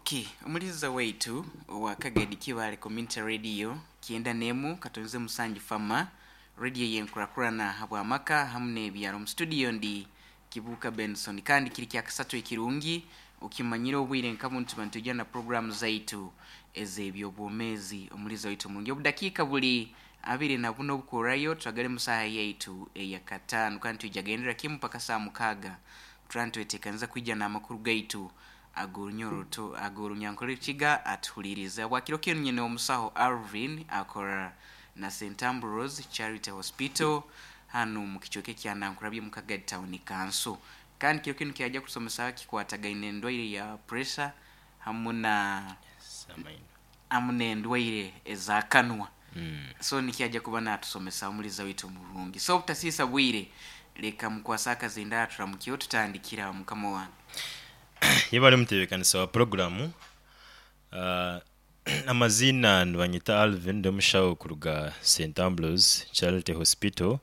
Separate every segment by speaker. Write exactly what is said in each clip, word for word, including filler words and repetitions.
Speaker 1: Okay, omuliza waitu owa Kagadi Kibaale Community Radio kyenda n'emu katonze musanju fama radio yenkurakurana habwamaka hamu n'ebyaro. Mu studio ndi Kibuuka Benson, kandi kiri kyakasatu ekirungi okimanyire obwire nka buntu bantujja na programu zaitu ez'ebyobwomeezi. Omuliza waitu omurungi, obudakiika buli abiri na buna obukorayo twagale musaha yaitu eyakataano, kandi twija gendera kimu paka saa mukaaga. Turantwetekaniza kwija n'amakuru gaitu ag'orunyoro ag'orunyankore Rukiga atuhuliriza. Bwakiro kinu nyine omusaho Alvin, akora na Saint Ambrose Charity Hospital hano mu kicweka ekya Nankurabye mu Kagadi Town Council, kandi kiro kinu kyajja kusomesa kikwatagaine endwaire ya pressure hamu na hamu n'endwaire ez'akanwa.
Speaker 2: Mm.
Speaker 1: So nikyajja kuba natusomesa omuliza waitu omurungi. So obutasiisa bwire, leka mukwasa akazindaro turamukyeho tutandikira mukama wange.
Speaker 2: Yebale mutebekanisa wa puroguramu. uh, amazina nibanyeta Alvin, ndi omushaho kuruga Saint Ambrose Charity Hospital.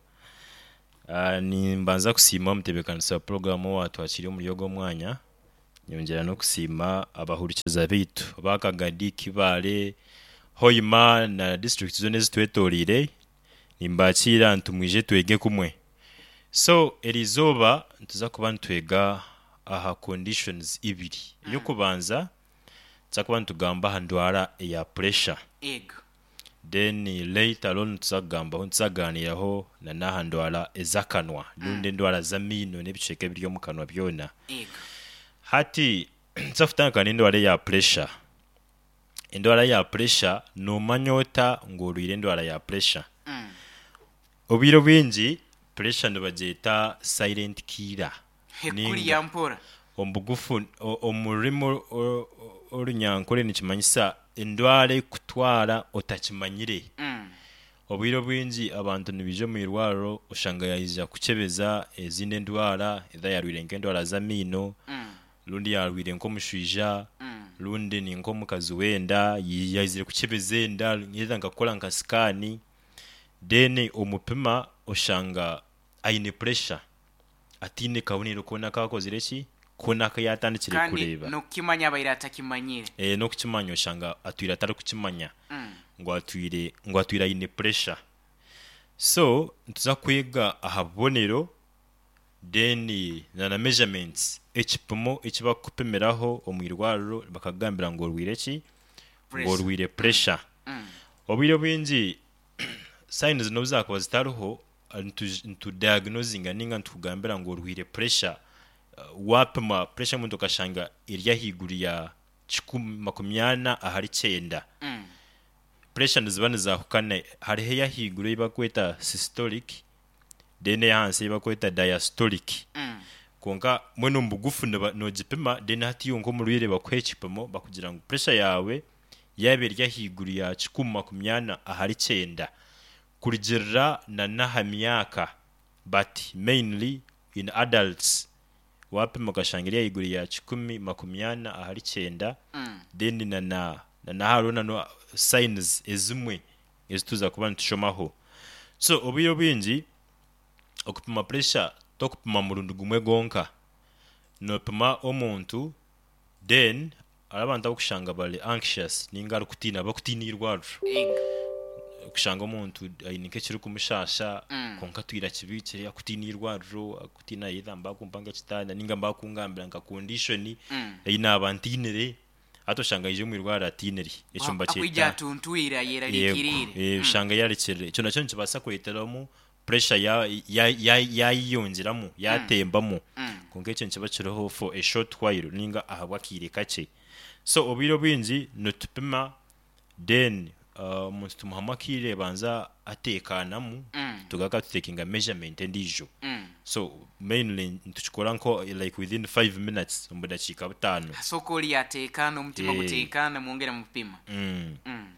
Speaker 2: uh, nimbanza kusiima omutebekanisa wa puroguramu owatwakire omuri ogu omwanya, nyongyera n'okusiima abahurikiza baitu ba Kagadi, Kibaale, Hoima na district zoona ezitwetoreire. Nimbakiira nti mwije twege kumwe. So eriizooba nituza kuba nitwega aha conditions ibiri. Ey'okubanza, tuza kuba nitugamba aha ndwara eya pressure.
Speaker 1: Ego.
Speaker 2: Then later on nituza kugambaho, nituza kuganiiraho na n'aha ndwara ez'akanwa rundi endwara z'amaino n'ebicweka ebiri omu kanwa byona.
Speaker 1: Ego.
Speaker 2: Hati nituza kutandika n'endwara eya pressure. Endwara ya pressure, noomanya ota ngu orwaire endwara ya pressure?
Speaker 1: Mm.
Speaker 2: Obwire obwingi pressure nibagyeta silent killer.
Speaker 1: Hekuriya mpora.
Speaker 2: Omu bugufu, o- omu rurimi o- o- orunyankore nikimanyisa endwara ekutwara otakimanyire.
Speaker 1: Mm.
Speaker 2: Obwire obwingi abantu nibaija omu irwariro, oshanga yaija kukyebeza ezindi endwara, either yarwaire nk'endwara z'amaino
Speaker 1: Mm.
Speaker 2: rundi yarwaire nk'omushwija
Speaker 1: Mm.
Speaker 2: rundi ni nk'omukazi w'enda yaizire kukyebeza enda, either nka kukora nka scan, then omupima oshanga aine pressure ataine kabonero koona kakozire ki koona aku yatandikire
Speaker 1: kandi
Speaker 2: kureeba.
Speaker 1: N'okukimanya abaire atakimanyire.
Speaker 2: e, n'okukimanya oshanga atwire atarikukimanya
Speaker 1: Mm.
Speaker 2: ngu atwire ngu atwire aine pressure. So nituza kwega aha bubonero, then na na measurements, ekipimo eki bakukupimiraho omu irwariro bakakugambira ngu orwaire ki, ngu
Speaker 1: Pressure.
Speaker 2: orwaire pressure.
Speaker 1: Mm.
Speaker 2: Obwire obwingi signs n'obu zaakuba zitariho, nitu- nitudiagnosinga ninga nitukugambira ngu orwaire pressure uh, wapima pressure y'omuntu okashanga eri ahaiguru ya kikumi makumi ana ahari kyenda.
Speaker 1: Mm.
Speaker 2: Pressure niziba nizahukana, hariho ey'ahaiguru ei bakweta systolic, then ey'ahansi ei bakweta diastolic.
Speaker 1: Mm.
Speaker 2: Konka mbwenu omu bugufu niba- noogipima, then hati iwe nk'omurwaire bakuha ekipimo bakugira ngu pressure yaawe yaaba eri ahaiguru ya kikumi makumi ana ahari kyenda kurugirira na n'aha myaka, but mainly in adults, wapima okashanga eri ahaiguru ya kikumi makumi ana ahari kyenda,
Speaker 1: Mm.
Speaker 2: then na na na na hariho na no signs ezimwe ezituza kuba nitushomaho. So obwire obwingi okupima pressure tokupima murundi gumwe gwonka, noopima omuntu, then hariho abantu abakushanga bari anxious ninga arikutiina, bakutiina irwariro.
Speaker 1: Ego.
Speaker 2: Kushanga omuntu aine nk'ekirikumushasha
Speaker 1: Mm.
Speaker 2: konka atwire akibiikire, akutiina irwariro, akutiina either mbakumpa nk'ekitanda ninga mbakungambira nka condition
Speaker 1: Mm.
Speaker 2: ei naaba ntiinire. Hati oshanga aija omu irwariro atiinire, ekyo
Speaker 1: akwija
Speaker 2: nibakyeta
Speaker 1: atuntwire
Speaker 2: Yego,
Speaker 1: ayerarikiriire.
Speaker 2: eh,
Speaker 1: Mm.
Speaker 2: oshanga yarekirire. Ekyo nakyo nikibaasa kureeteramu pressure ya- ya- ya- yayeyongyeramu, yatembamu.
Speaker 1: Mm.
Speaker 2: Konka ekyo nikiba kiriho for a short while ninga ahabw'akaire kakye. So obwire obwingi nitupima, then uh, omuntu tumuhamu akaire banza ateekaanamu,
Speaker 1: Mm.
Speaker 2: tugaruka tutekinga measurement endiijo.
Speaker 1: Mm.
Speaker 2: So mainly nitukikora nko like within five minutes, omu budakiika butaano.
Speaker 1: Asooka oli yateekaana, omutima
Speaker 2: Eh.
Speaker 1: guteekaana, mwongera mupima.
Speaker 2: mm.
Speaker 1: Mm.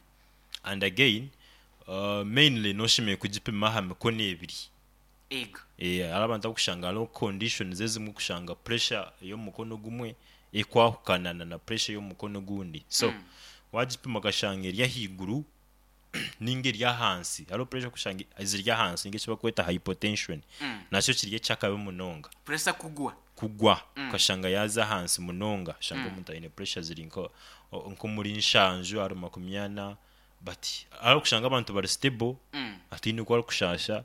Speaker 2: And again, uh, mainly noshemeriire kugipima aha mikono ebiri.
Speaker 1: Ego.
Speaker 2: Eh, hariho abantu abakushanga hariho conditions ezimwe kushanga pressure ey'omukono gumwe ekwahukana na na pressure y'omukono gundi. So
Speaker 1: Mm.
Speaker 2: wagipima okashanga eri ahaiguru ninga eri ahansi, hariho pressure kushanga ziri ahansi ninga eki bakweta hypotension,
Speaker 1: Mm.
Speaker 2: nakyo kiri ekyakabi munonga.
Speaker 1: Pressure kugwa.
Speaker 2: Kugwa ukashanga yaza ahansi munonga, shanga omuntu aine pressure ziri nko nk'omuri nshanju ahari makumi ana, but arikushanga abantu bari stable,
Speaker 1: Mm.
Speaker 2: ataine oku arikushasha.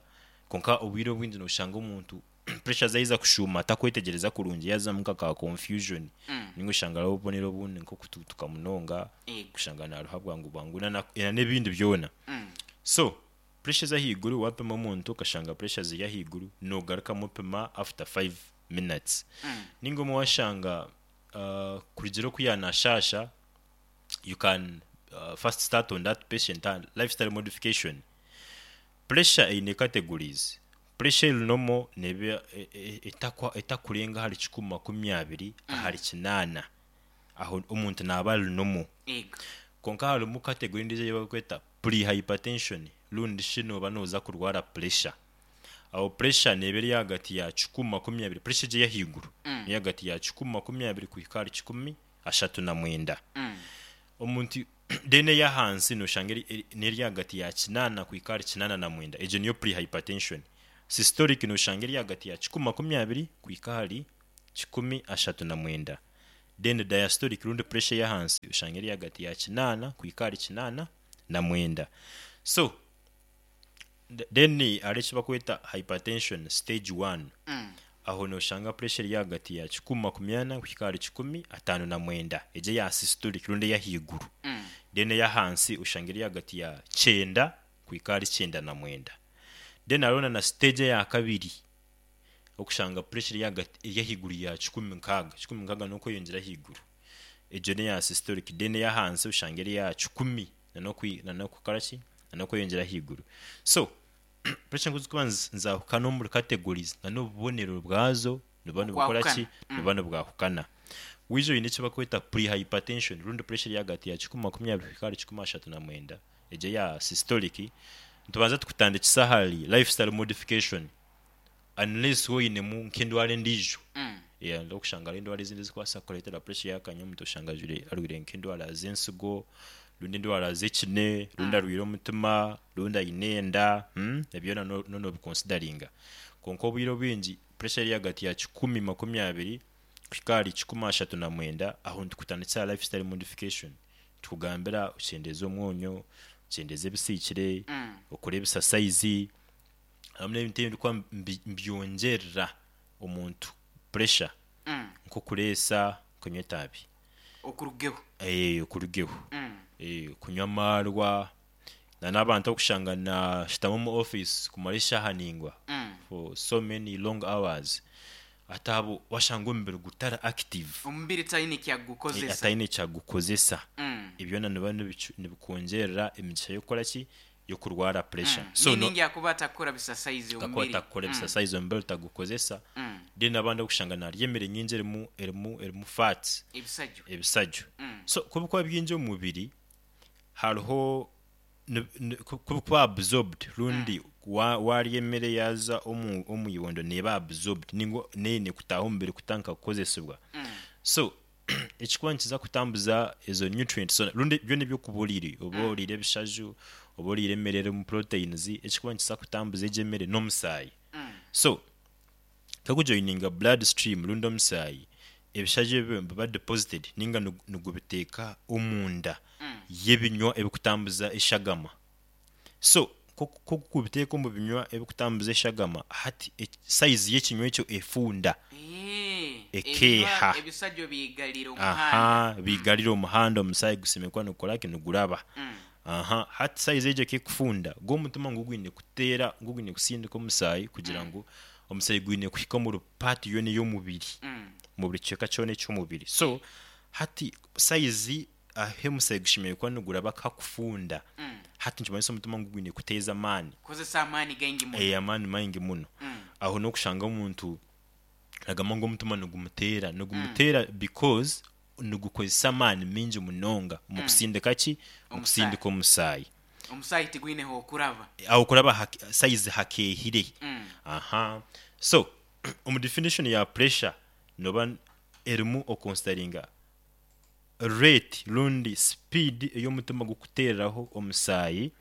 Speaker 2: Konka obwire obwingi noshanga omuntu pressure zaiza kushuma atakwetegyereza kurungi, yazamu nka ka confusion,
Speaker 1: Mm.
Speaker 2: ninga oshanga hariho obubonero obundi nk'okututuka munonga,
Speaker 1: Ego.
Speaker 2: kushanga naruha bwangu bwangu, na na n'ebindi byona.
Speaker 1: Mm.
Speaker 2: So pressure z'ahaiguru, wapima omuntu okashanga pressure ziri ahaiguru, nogarukamu opima after five minutes.
Speaker 1: Mm.
Speaker 2: Ninga omwe washanga uh, kurugira oku yanashasha, you can uh, first start on that patient and lifestyle modification. Pressure eine categories. Pressure eri normal neba e- e- etakwa etakurenga ahari kikumi makumi abiri ahari kinaana, aho omuntu naaba ari normal.
Speaker 1: Ego.
Speaker 2: Konka harimu category endiijo ei barikweta pre-hypertension, rundi shi nooba nooza kurwara pressure. Aho pressure neeba eri ahagati ya kikumi makumi abiri, pressure egyo ey'ahaiguru
Speaker 1: Mm.
Speaker 2: eri ahagati ya kikumi makumi abiri kuhika ahari kikumi ashatu na mwenda.
Speaker 1: Mm.
Speaker 2: Omuntu then ey'ahansi noshanga eri- eri- n'eri ahagati ya kinaana kuhika ahari kinaana na mwenda, egyo niyo pre-hypertension. Systolic noshanga eri ahagati ya kikumi makumi abiri kuhika ahari kikumi ashatu na mwenda. Then diastolic, rundi pressure ey'ahansi, oshanga eri ahagati ya kinaana kuhika ahari kinaana na mwenda. So th- then hariho eki bakweta hypertension stage one.
Speaker 1: Mm.
Speaker 2: Aho noshanga pressure eri ahagati ya kikumi makumi ana kuhika ahari kikumi ataano na mwenda, egyo eya systolic rundi ey'ahaiguru.
Speaker 1: Mm.
Speaker 2: Then ey'ahansi oshanga eri ahagati ya kyenda kuhika ahari kyenda na mwenda. Then hariho na na stage eya kabiri, okushanga pressure eri ahagati eri ahaiguru ya kikumi nkaaga, kikumi nkaaga n'okweyongyera ahaiguru, egyo neya systolic. Then ey'ahansi oshanga eri ya kikumi nanokwi nanokukora ki nanokweyongyera ahaiguru. So pressure nk'ozikuba nizahukana omuri categories, nan'obubonero bwazo nibuba nibukora ki?
Speaker 1: Okwahukana. Mm.
Speaker 2: Nibuba nibwahukana. Wiija oine eki bakweta pre-hypertension, rundi pressure eri ahagati ya kikumi makumi abiri kuhika ahari kikumi ashatu na mwenda, egyo eya systolic, nitubanza tukutandikisa ahari lifestyle modification, unless woinemu nk'endwara endiijo.
Speaker 1: Mm.
Speaker 2: Yeah, okushanga hariho endwara ezindi ezikubaasa kukureetera pressure yakanya. Omuntu oshanga ajwire arwaire nk'endwara z'ensigo, rundi endwara z'ekine, rundi arwaire omutima, rundi aine enda, hmm? Ebyo byona no nobiconsideringa. Konka obwire obwingi pressure eri ahagati ya kikumi makumi abiri kuhika ahari kikumi ashatu na mwenda, aho nitukutandikisa aha lifestyle modification. Tukugambira okyendeeze omwonyo, okyendeeze ebisiikire,
Speaker 1: Mm.
Speaker 2: okore ebisasaizi hamwe n'ebintu ebindi mbi- mbyongyerera omuntu pressure,
Speaker 1: Mm.
Speaker 2: nk'okureesa, kunywa etaabi.
Speaker 1: Okurugeho.
Speaker 2: Eh, okurugeho.
Speaker 1: Mm.
Speaker 2: Eh, kunywa amaarwa, na n'abantu okushanga nashutama omu office kumara eshaaha ningwa,
Speaker 1: Mm.
Speaker 2: for so many long hours, ate abo washanga omubiri gutari active.
Speaker 1: Omubiri taine
Speaker 2: Eh,
Speaker 1: kyagukozesa.
Speaker 2: Ataine kyagukozesa.
Speaker 1: Mm.
Speaker 2: Ebyo nibiba nibicu- nibikwongyerera emigisha y'okukora ki y'okurwara pressure.
Speaker 1: Mm.
Speaker 2: So no
Speaker 1: Meaning yakuba atakukora bisasaizi
Speaker 2: kakuba
Speaker 1: omubiri.
Speaker 2: atakukora ebisasaizi, omubiri tagukozesa.
Speaker 1: Mm.
Speaker 2: Then abandi okushanga narya emere nyingi erimu erimu erimu fats.
Speaker 1: Ebisajjo.
Speaker 2: Ebisajjo.
Speaker 1: Mm.
Speaker 2: So kubikuba bingi omu mubiri, hariho ni- ni- ku- kubikuba absorbed, rundi wa- warya emere yaza omu omu ibondo, neba absorbed ningo neine kutaaha omubiri kutandika kukozesebwa.
Speaker 1: Mm.
Speaker 2: So ekikuba nikiza kutambuza ezo nutrients, so rundi byona ebyokuba oriire, oba oriire ebishaju, oba oriire emere erimu proteins, ekikuba nikiza kutambuza egyo emere n'omusaayi.
Speaker 1: Mm.
Speaker 2: So kakujoininga blood stream rundi omusaayi, ebishaju ebyo biba deposited ninga nigu- nigubiteeka omunda
Speaker 1: Mm.
Speaker 2: y'ebinywa ebikutambuza eshagama. So kokubiteeka omu binywa ebikutambuza eshagama, hati e- size y'ekinywa ekyo efunda.
Speaker 1: Eh,
Speaker 2: Ekeeha.
Speaker 1: ebinywa- ebisajjo biyigalira omuhanda.
Speaker 2: Aha, bigarira omuhanda, omusaayi gusimekwa nigukoraki, niguraba.
Speaker 1: Mm.
Speaker 2: Aha, hati size egyo kekufunda, gw'omutima ngu gwine kuteera, ngu gwine kusindika omusaayi kugira ngu omusaayi gwine kuhika omu part yona ey'omubiri,
Speaker 1: Mm.
Speaker 2: mu buri kicweka kyona eky'omubiri. So hati size ahe omusaayi gushemereire kuba niguraba kakufunda.
Speaker 1: Mm.
Speaker 2: Hati nikimanyisa omutima ngu gwine kuteeza amaani.
Speaker 1: Kozesa amaani gaingi muno.
Speaker 2: Eh, amaani maingi muno.
Speaker 1: Mm.
Speaker 2: Aho n'okushanga omuntu agamba ngu omutima nigumuteera nigumuteera because nigukozesa amaani mingi munonga mu kusindika ki mu kusindika omusaayi.
Speaker 1: Omusaayi tigwineho okuraba.
Speaker 2: Aho kuraba hake- size hakeehire.
Speaker 1: Mm.
Speaker 2: Aha, so omu definition ya pressure noba erimu okonsideringa rate rundi speed ey'omutima gukuteereraho omusaayi,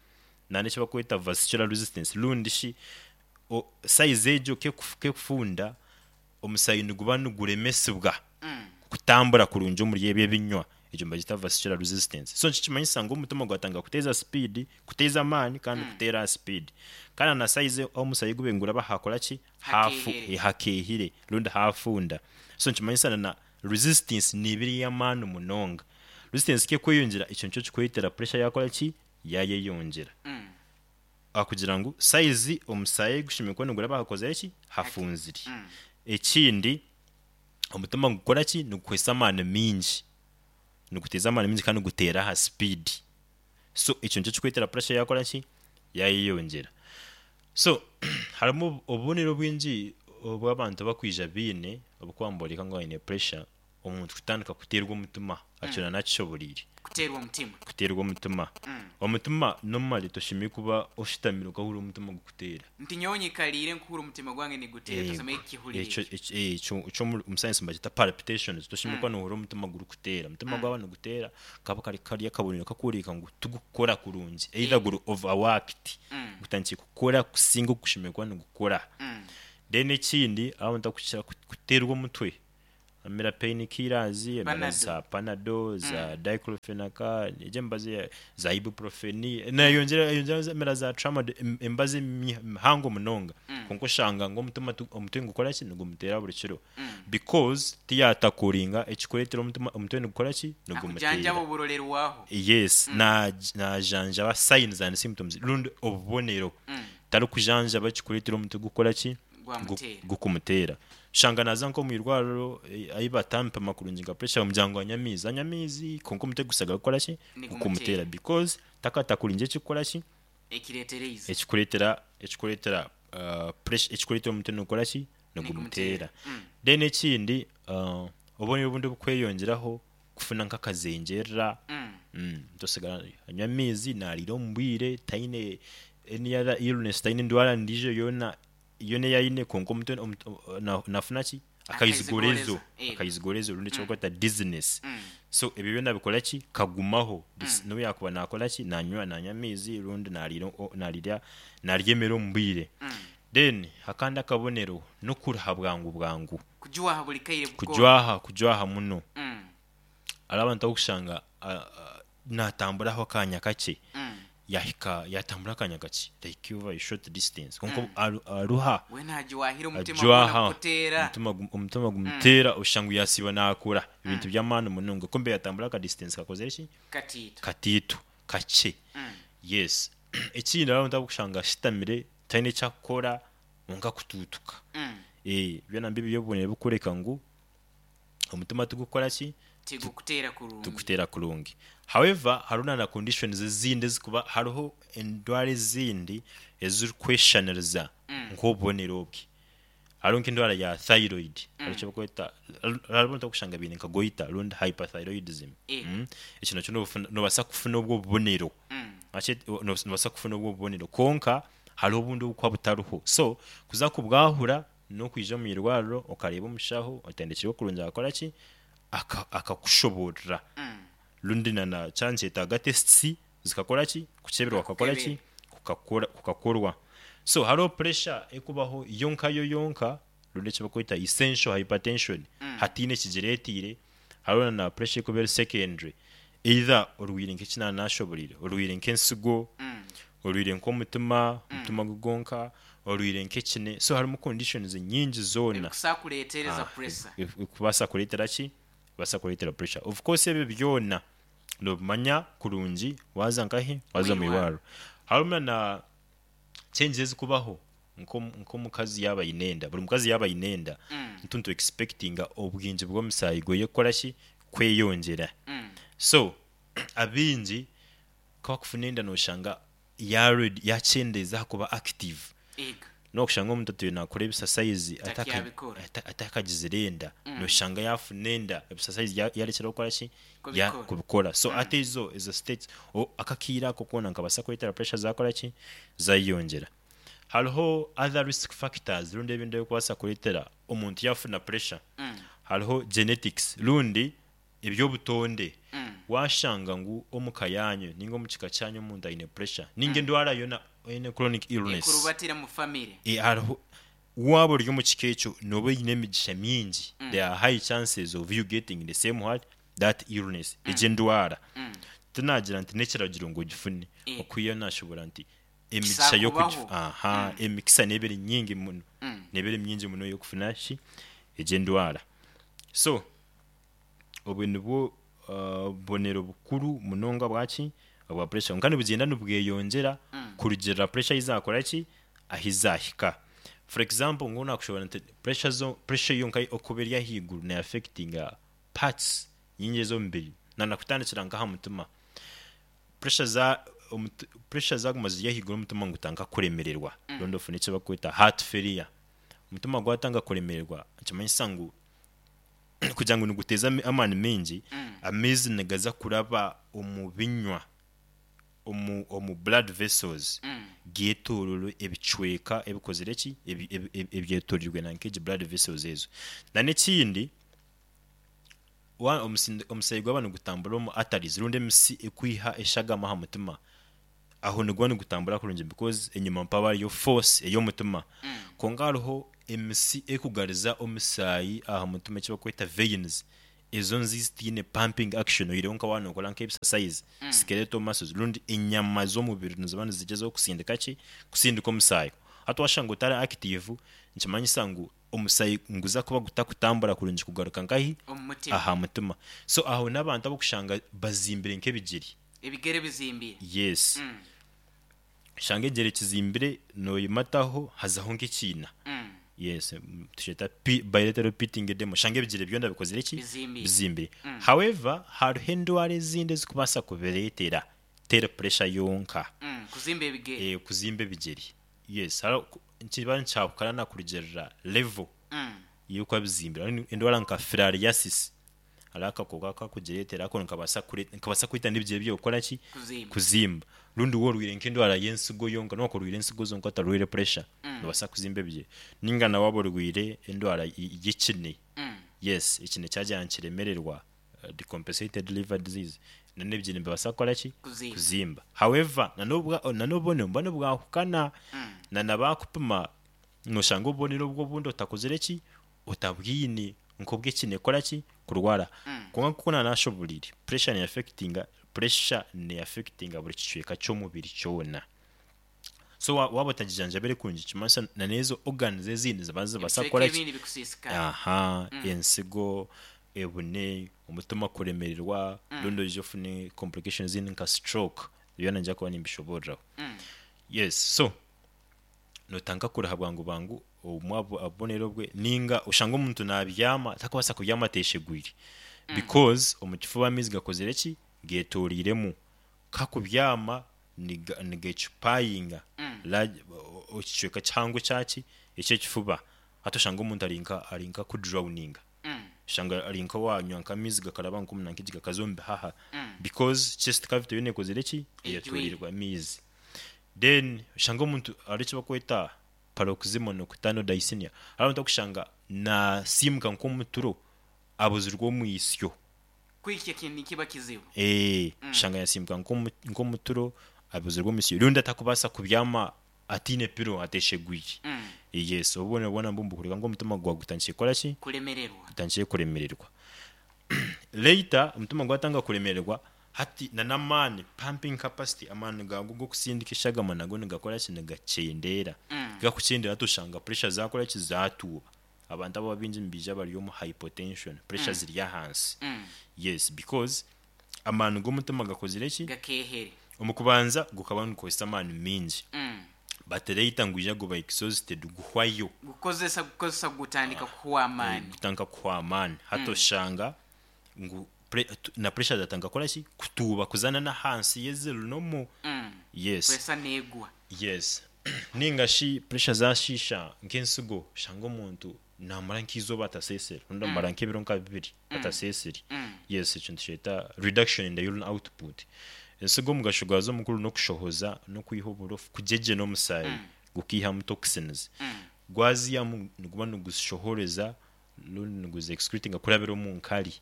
Speaker 2: nana eki bakweta vascular resistance, rundi shi o- size egyo kekuf- kekufunda. Omusaayi niguba niguremesibwa
Speaker 1: Mm.
Speaker 2: kutambura kurungi omuri ebyo ebinywa. Ekyo nibagita vascular resistance. So nikimanyisa ngu omutima gwatandika kuteeza speed, kuteeza amaani kandi
Speaker 1: Mm.
Speaker 2: kuteera aha speed, kandi na size ahu omusaayi gube niguraba hakora ki? Hafu
Speaker 1: Hakeehire.
Speaker 2: Hakeehire rundi hafunda. So nikimanyisa na na resistance neeba eri ey'amaani munonga. Resistance kekweyongyera, ekyo nikyo kikureetera pressure yakora ki? Yayeyongyera.
Speaker 1: Mm.
Speaker 2: Akugira ngu size omusaayi gushemereire kuba niguraba hakozire ki? Hafunzire.
Speaker 1: Mm.
Speaker 2: Ekindi, omutima nigukora ki? Nigukozesa amaani mingi, niguteeza amaani mingi kandi niguteera aha speed. So ekyo nikyo kikureetera pressure yakora ki? Yayeyongyera. So harimu obubonero bwingi obw'abantu bakwija biine obukuba niboreka ngu aine pressure. Omuntu kutandika kuteerwa omutima akira nakishoboreire.
Speaker 1: Kuteerwa omutima.
Speaker 2: Kuteerwa omutima.
Speaker 1: Mm.
Speaker 2: Omutima normally toshemereire kuba oshutamire okahurira omutima gukuteera.
Speaker 1: Nti nyowe nyikaliire nkuhura omutima gwange niguteera, tosome kihurire.
Speaker 2: Ekyo ekyo ekyo ekyo omu science nibakita palpitations. Toshemereire kuba nohurira omutima gurikuteera. Omutima gwaba niguteera, kaba kari kari akabonero kakworeka ngu tigukukora kurungi, either guri overworked,
Speaker 1: Mm.
Speaker 2: gutandikire kukora kusinga oku gushemereire kuba nigukora.
Speaker 1: Mm.
Speaker 2: Then ekindi, abantu bakukira kuteerwa omutwe, amira pain killers, amira
Speaker 1: Panado.
Speaker 2: za Panado, za diclofenac, egyo emibazi ya- za ibuprofen, nayongyera yongyera amira za tramadol, em- emibazi mihango munonga.
Speaker 1: Mm.
Speaker 2: Konka oshanga ngu omutima tu- omutwe nigukora ki? Nigumuteera buri kiro,
Speaker 1: Mm.
Speaker 2: because tiyatakuringa ekikureetera omutima omutwe nigukora ki?
Speaker 1: Akujanjaba
Speaker 2: Nigumuteera.
Speaker 1: oburorerwaho.
Speaker 2: Yes, na najanjaba signs and symptoms rundi obubonero,
Speaker 1: Mm.
Speaker 2: tarikujanjaba ekikureetera omutwe gukora ki?
Speaker 1: Gwamutera.
Speaker 2: Gukumuteera. Shanga naza nk'omu irwariro, eh, ahi batampima kurungi nka pressure, bamugira ngu anywe amaizi, anywa amaizi, konka omutwe gusigara gukora ki?
Speaker 1: Nigumuteera.
Speaker 2: Gukumutera, because takatakuringi ekikukora ki?
Speaker 1: Ekireetereize.
Speaker 2: Ekikureetera ekikureetera uh, pressure, ekikureetera omutwe nigukora ki? Nigumuteera.
Speaker 1: Mm.
Speaker 2: Then ekindi, uh, obubonero obundi obukweyongyeraho, kufuna nk'akazengyerera.
Speaker 1: Mm.
Speaker 2: mm, tosigara anywa amaizi, nariira omu bwire, taine any other illness, taine endwara ndiijo yoona yoona ei aine, konka omutwe omutu- na- nafuna ki? Akaizigorezo.
Speaker 1: Akaizigoorezo.
Speaker 2: Akaizigorezo rundi ekyo dizziness.
Speaker 1: Mm.
Speaker 2: So ebyo byona bikora ki? Kagumaho. Dis- n'obu yakuba nakora ki? Nanywa nanywa amaizi rundi nariira o- narirya narya emere omu bwire.
Speaker 1: Mm.
Speaker 2: Then akandi akabonero n'okuruha bwangu bwangu.
Speaker 1: Kujwaha buli kaire bukora.
Speaker 2: Kujwaha, kujwaha muno.
Speaker 1: Mm.
Speaker 2: Hariho abantu abokushanga ah, ah, natamburaho akanya kakye,
Speaker 1: Mm.
Speaker 2: yahika yatambura akanya kakye, like over a short distance, konka aru- aruha.
Speaker 1: We ntagiwahira omutima
Speaker 2: Ajwaha.
Speaker 1: gwona kuteera.
Speaker 2: Omutima gu- omutima gumuteera, oshanga ngu yasiiba nakora ebintu by'amaani munonga, kumbe yatambura aka distance kakozire ki?
Speaker 1: Katiito.
Speaker 2: Katiito, kakye.
Speaker 1: Mm.
Speaker 2: Yes. Ekindi, hariho abantu abokushanga ashitamire taine ekyakukora konka kutuutuka.
Speaker 1: Mm.
Speaker 2: Eh, byona mbi byobubonero bukureka ngu omutima tigukora ki?
Speaker 1: Tigukuteera kurungi.
Speaker 2: Tukuteera kurungi. However, hariho na conditions ezindi ezikuba, hariho endwara ezindi ezirikweshaniriza
Speaker 1: Mm.
Speaker 2: nk'obubonero obwe. Hariho nk'endwara ya thyroid, hariho ekyo bakweta, hariho abantu abokushanga biine nka goiter rundi hyperthyroidism.
Speaker 1: Eh.
Speaker 2: Mm. Ekyo nakyo nobufuna- nobaasa kufuna obwo bubonero.
Speaker 1: Mm.
Speaker 2: Akye- no- nobaasa kufuna obwo bubonero, konka hariho obundi obukuba butariho. So kuza kubwahura n'okwija omu irwariro okareeba omushaho otendekirwe kurungi, akakora ki? Aka- akakushoborera
Speaker 1: Mm.
Speaker 2: rundi na na kyankyetaaga tests zikakora ki? Kukyebirwa, kukakora ki? Kukakora, kukakorwa. So hariho pressure ekubaho yonka yo yonka, rundi ekyo bakweta essential hypertension,
Speaker 1: Mm.
Speaker 2: hatiine ekigireetiire. Hariho na na pressure ekuba eri secondary, either orwire nk'ekinana nashoborire, orwire nk'ensigo,
Speaker 1: Mm.
Speaker 2: orwire nk'omutima, omutima gugonka, orwire nk'ekine. So harimu conditions nyingi zoona
Speaker 1: ebikusa kuleetereza
Speaker 2: Ah,
Speaker 1: pressure.
Speaker 2: e- e- kubaasa kureetera ki? Kubaasa kureetera pressure. Of course ebyo byona nobimanya kurungi waza nkahi? Waza mu
Speaker 1: Mwirwariro.
Speaker 2: irwariro. Harimu na changes ezikubaho nk'omu- nk'omukazi yaaba aine enda. Buri mukazi yaaba aine enda,
Speaker 1: Mm.
Speaker 2: ntuntu expectinga obwingi bw'omusaayi gweye kukora ki? Kweyongyera.
Speaker 1: Mm.
Speaker 2: So abingi kabakufuna enda, noshanga yaredi yakyendeeza kuba active.
Speaker 1: Ega.
Speaker 2: Nokushanga omuntu atuye nakora ebisasayizi
Speaker 1: Takyabikora.
Speaker 2: atakagizire enda,
Speaker 1: Mm.
Speaker 2: noshanga yafuna enda, ebisasayizi yarekera kukora ki? Ya-
Speaker 1: Kubikora.
Speaker 2: Kubikora. So ate ezo ezo states o- akakiira ako koona nkabasa kureetera pressure zakora ki? Zayeyongyera. Hariho other risk factors rundi ebindi ebikubaasa kureetera omuntu yafuna pressure.
Speaker 1: Mm.
Speaker 2: Hariho genetics rundi ebyobutonde.
Speaker 1: Mm.
Speaker 2: Washanga ngu omuka yanyu ninga omu kika kyanyu omuntu aine pressure ninga endwara yona, aine chronic illness,
Speaker 1: ekurubatira mu family.
Speaker 2: e, hariho Waba ori omu kika ekyo, noba oine emigisha mingi. There are high chances of you getting the same what, that illness, egyo endwara. Tinagira nti n'ekiragiro ngu ogifune.
Speaker 1: Eh.
Speaker 2: Okwiha nashobora nti emigisha
Speaker 1: Kisakubaho.
Speaker 2: y'okugifu aha, emikisa neeba eri nyingi muno,
Speaker 1: Mm.
Speaker 2: neeba eri mingi muno ey'okufuna ki, egyo endwara. So obwe nibwo uh, bubonero bukuru munonga bwaki, obwa pressure. Konka nibugyenda nibweyongyera kurugirira pressure eyizakora ki, ahizahika. For example, ngu nakushobora nti pressure zo pressure yonka okuba eri ahaiguru ne affectinga parts nyingi ez'omubiri, nanakutandikira nkaha mutima. Pressure za omuti- pressure zaguma ziri ahaiguru, omutima ngutandika kuremererwa, rundi ofuna eki bakweta heart failure. Omutima gwatanga kuremererwa, nikimanyisa ngu kugira ngu niguteeza ami- amaani maingi, amaizi nigaza kuraba omu binywa, omu, omu blood vessels, getororo ebicweka ebikozire ki, ebi- ebi- ebi- ebyetorirwe na nk'egi blood vessels ezo. Na n'ekindi, wa- omusindi- omusaayi gwaba nigutambura omu arteries rundi emisi ekwiha eshagama aha mutima, aho niguba nigutambura kurungi because enyima mpaba hariyo force ey'omutima. Konka hariho emisi ekugariza omusaayi aha mutima, eki bakweta veins, ezo nzi zitiine pumping action, oyireho nka waaba nokora nk'exercise, skeletal muscles rundi enyama z'omubiri niziba nizigyezaho kusindika ki, kusindika omusaayi. Hati washanga otari active, nikimanyisa ngu omusaayi nguza kuba gutakutambura kurungi kugaruka nkahi?
Speaker 1: Omu mutima.
Speaker 2: Aha mutima. So aho n'abantu abokushanga bazimbire nk'ebigiri.
Speaker 1: Ebigere bizimbire.
Speaker 2: Yes.
Speaker 1: Mm.
Speaker 2: Shanga egere kizimbire, noyimataho hazaho nk'ekiina.
Speaker 1: Mm.
Speaker 2: Yes, mm, tukyeta P- bilateral pitting edema. Shanga ebigere byona bikozire ki?
Speaker 1: Bizimbire.
Speaker 2: Bizimbire. However, hariho endwara ezindi ezikubaasa kubireetera, teri pressure yonka.
Speaker 1: Mm. kuzimba ebigere.
Speaker 2: Eh, kuzimba ebigere, yes. Hariho- nikiba nikyahukana nakurugirira level
Speaker 1: Mm.
Speaker 2: y'okuba bizimbire. Hariho endwara nka filariasis, hariho akakooko akakugireetera, ako nikabaasa kure- nikabaasa kwita n'ebigere byawe kukora ki?
Speaker 1: Kuzimba.
Speaker 2: Kuzimba. Rundi woorwire nk'endwara y'ensigo yonka, noba orwire ensigo zonka otarwire pressure, nobaasa kuzimba ebigere. Ninga nawe waba orwire endwara y- y'ekine.
Speaker 1: Mm.
Speaker 2: Yes, ekine kyagira nikiremererwa, uh, decompensated liver disease, nan'ebigere nibibaasa kukora ki?
Speaker 1: Kuzimba.
Speaker 2: Kuzimba. However, nanobwa nanobubonero buba nibwahukana, na nabakupima noshanga obubonero obwo obundi otakozire ki, otabwine nk'obwekine kukora ki, kurwara. Konka nkuko nanashoborire, pressure ne affectinga pressure ne affectinga buri kicweka ky'omubiri kyona. So wa- waba otagijanjabire kurungi, kimanyisa na n'ezo organs ezindi ziba zibaasa
Speaker 1: ebicweka
Speaker 2: kukora ki?
Speaker 1: Ebindi bikusiisikara.
Speaker 2: Aha, ensigo, ebune, omutima kuremererwa, rundi oije ofune complications ezindi nka stroke. Byona nija kuba nimbishoboreraho. Yes, so notandika kuruha bwangu bwangu, obumwe abo- obubonero bwe ninga oshanga omuntu nabyama takubaasa kubyama ateshegwire, because omu kifuba amaizi gakozire ki, getoriremu. Kakubyama niga- nigecupayinga large- o- o- ekicweka kihango kyaki, ekyekifuba. Hati oshanga omuntu arinka arinka kudrowninga, oshanga arinka wanywa nk'amaizi gakaraba nk'omu nk'egi gakaza omu bihaha, because chest cavity yoona ekozire ki? Eyetorirwe amaizi. Then oshanga omuntu hariho eki bakweta paroxysmal nocturnal dyspnea. Hariho omuntu okushanga nasiimuka nk'omuturo abuzirwe omwisyo.
Speaker 1: Kwikya kintu nikiba kizibu.
Speaker 2: Eh, oshanga yasiimuka nk'omu- nk'omuturo abuzirwe omwisyo, rundi atakubaasa kubyama atiine pillow, ateshegwire. Yes, obubonero bwona mbwo nibukureka ngu omutima gwawe gutandikire kukora ki?
Speaker 1: Kulemererwa.
Speaker 2: Gutandikire kuremererwa. Later omutima gwatanga kuremererwa, hati na n'amaani, pumping capacity, amaani gago g'okusindika eshagama nago nigakora ki? Nigakyendera. Gakukyendera, hati oshanga pressure zakora ki? Zatuuba. Abantu abo abaingi nibaija bari omu hypotension, pressure ziri ahansi. Yes, because amaani g'omutima gakozire ki?
Speaker 1: Gakehere.
Speaker 2: Omu kubanza gukaba nigukozesa amaani mingi,
Speaker 1: Mm.
Speaker 2: but later ngwija guba exhausted, guhwayo.
Speaker 1: Gukozesa, gukozesa, gutandika kuhwa amaani.
Speaker 2: Gutandika kuhwa amaani. Hati oshanga ngu pre- tu- na pressure zatandika kukora ki? Kutuuba, kuzana n'ahansi y'ezero nomu.
Speaker 1: Mm.
Speaker 2: Yes.
Speaker 1: Pressure negwa.
Speaker 2: Yes, ninga shi pressure zashisha nk'ensigo, oshanga omuntu namara nk'izooba atasesere, rundi amara nk'ebiro nka bibiri atasesere. Yes, ekintu kyeta reduction in the urine output. Ensigo omugasho gwazo omukuru n'okushohoza n'okwiha oburofu, kugyegyena omusaayi gukiihamu toxins. Gwazihamu niguba niguzishohoreza rundi niguzi excretinga kurabira omu nkari.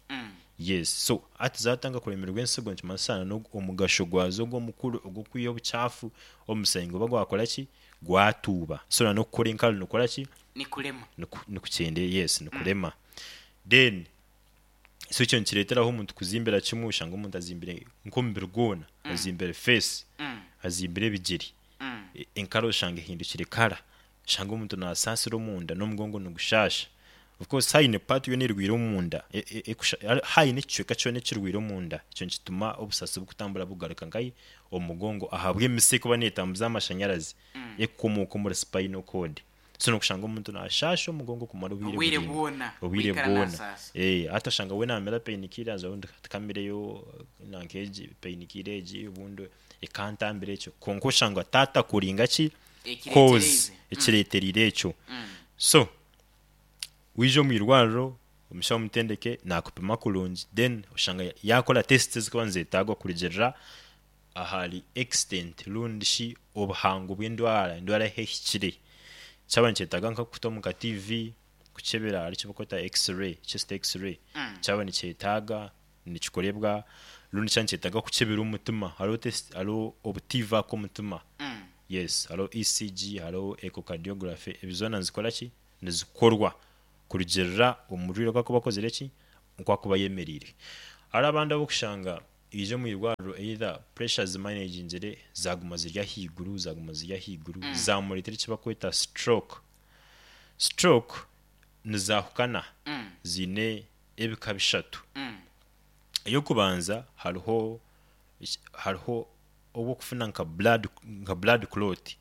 Speaker 2: Yes, so hati zatanga kuremererwa ensigo, nikimanyisa n'ogu- omugasho gwazo ogw'omukuru ogw'okwiha obukyafu omu musaayi guba gwakora ki? Gwatuuba. So na n'okukora enkari nukora ki?
Speaker 1: Nikulema.
Speaker 2: Nikukyende, yes, nikurema. Then so ekyo nikireeteraho omuntu kuzimbira kimwe, oshanga omuntu azimbire nk'omubiri gwona, azimbire face,
Speaker 1: Mm.
Speaker 2: azimbire ebigere,
Speaker 1: Mm.
Speaker 2: E- enkara oshanga ehindukire kara, oshanga omuntu nasaasira omunda n'omugongo nigushasha. Of course haine part yoona erwire omunda, e- e- ekusha- hari- haine ekicweka kyona ekirwire omunda, ekyo nikituma obusasi bukutambura bugaruka nkahi omu mugongo, ahabw'emisi ekuba neetambuza amashanyarazi ekukomooka omuri spinal cord. So nokushanga omuntu nashasha omugongo kumara obwire
Speaker 1: Obwire
Speaker 2: buraingwa.
Speaker 1: Bwona.
Speaker 2: Obwire
Speaker 1: Bwikara
Speaker 2: bwona.
Speaker 1: nasaasa.
Speaker 2: Eh, hati oshanga we namira painkillers, obundi kamireyo nanka egi painkiller egi, obundi ekantambira ekyo, konka oshanga tatakuringa ki cause
Speaker 1: Ekireetereize.
Speaker 2: ekireeterire ekyo.
Speaker 1: Mm.
Speaker 2: So wija omu irwariro, omushaho omutendeke nakupima kurungi, then oshanga yakora test ezikuba nizetagwa kurugirira ahari extent rundi shi obuhango bw'endwara, endwara ahu ehikire. Kyaba nikyetaaga nka kuta omu ka T V kukyebera, hari ekibakweta x-ray, chest x-ray,
Speaker 1: Mm.
Speaker 2: kyaba nikyetaaga nikikorebwa, rundi kyaba nikyetaaga kukyebera omutima, hariho test, hariho obutiva k'omutima.
Speaker 1: Mm.
Speaker 2: Yes, hariho E C G, hariho echocardiography, ebi zoona nizikora ki, nizikorwa kurugirira omurwaire oku akuba akozire ki, oku akuba ayemereire. Hariho abandi abokushanga ija omu irwariro, either pressure zimanagingire, zaguma ziri ahaiguru, zaguma ziri ahaiguru, zamureetera eki bakweta stroke. Stroke nizahukana,
Speaker 1: Mm.
Speaker 2: ziine ebika bishatu.
Speaker 1: Mm.
Speaker 2: Ey'okubanza, hariho hariho obwokufuna nka blood nka blood clot,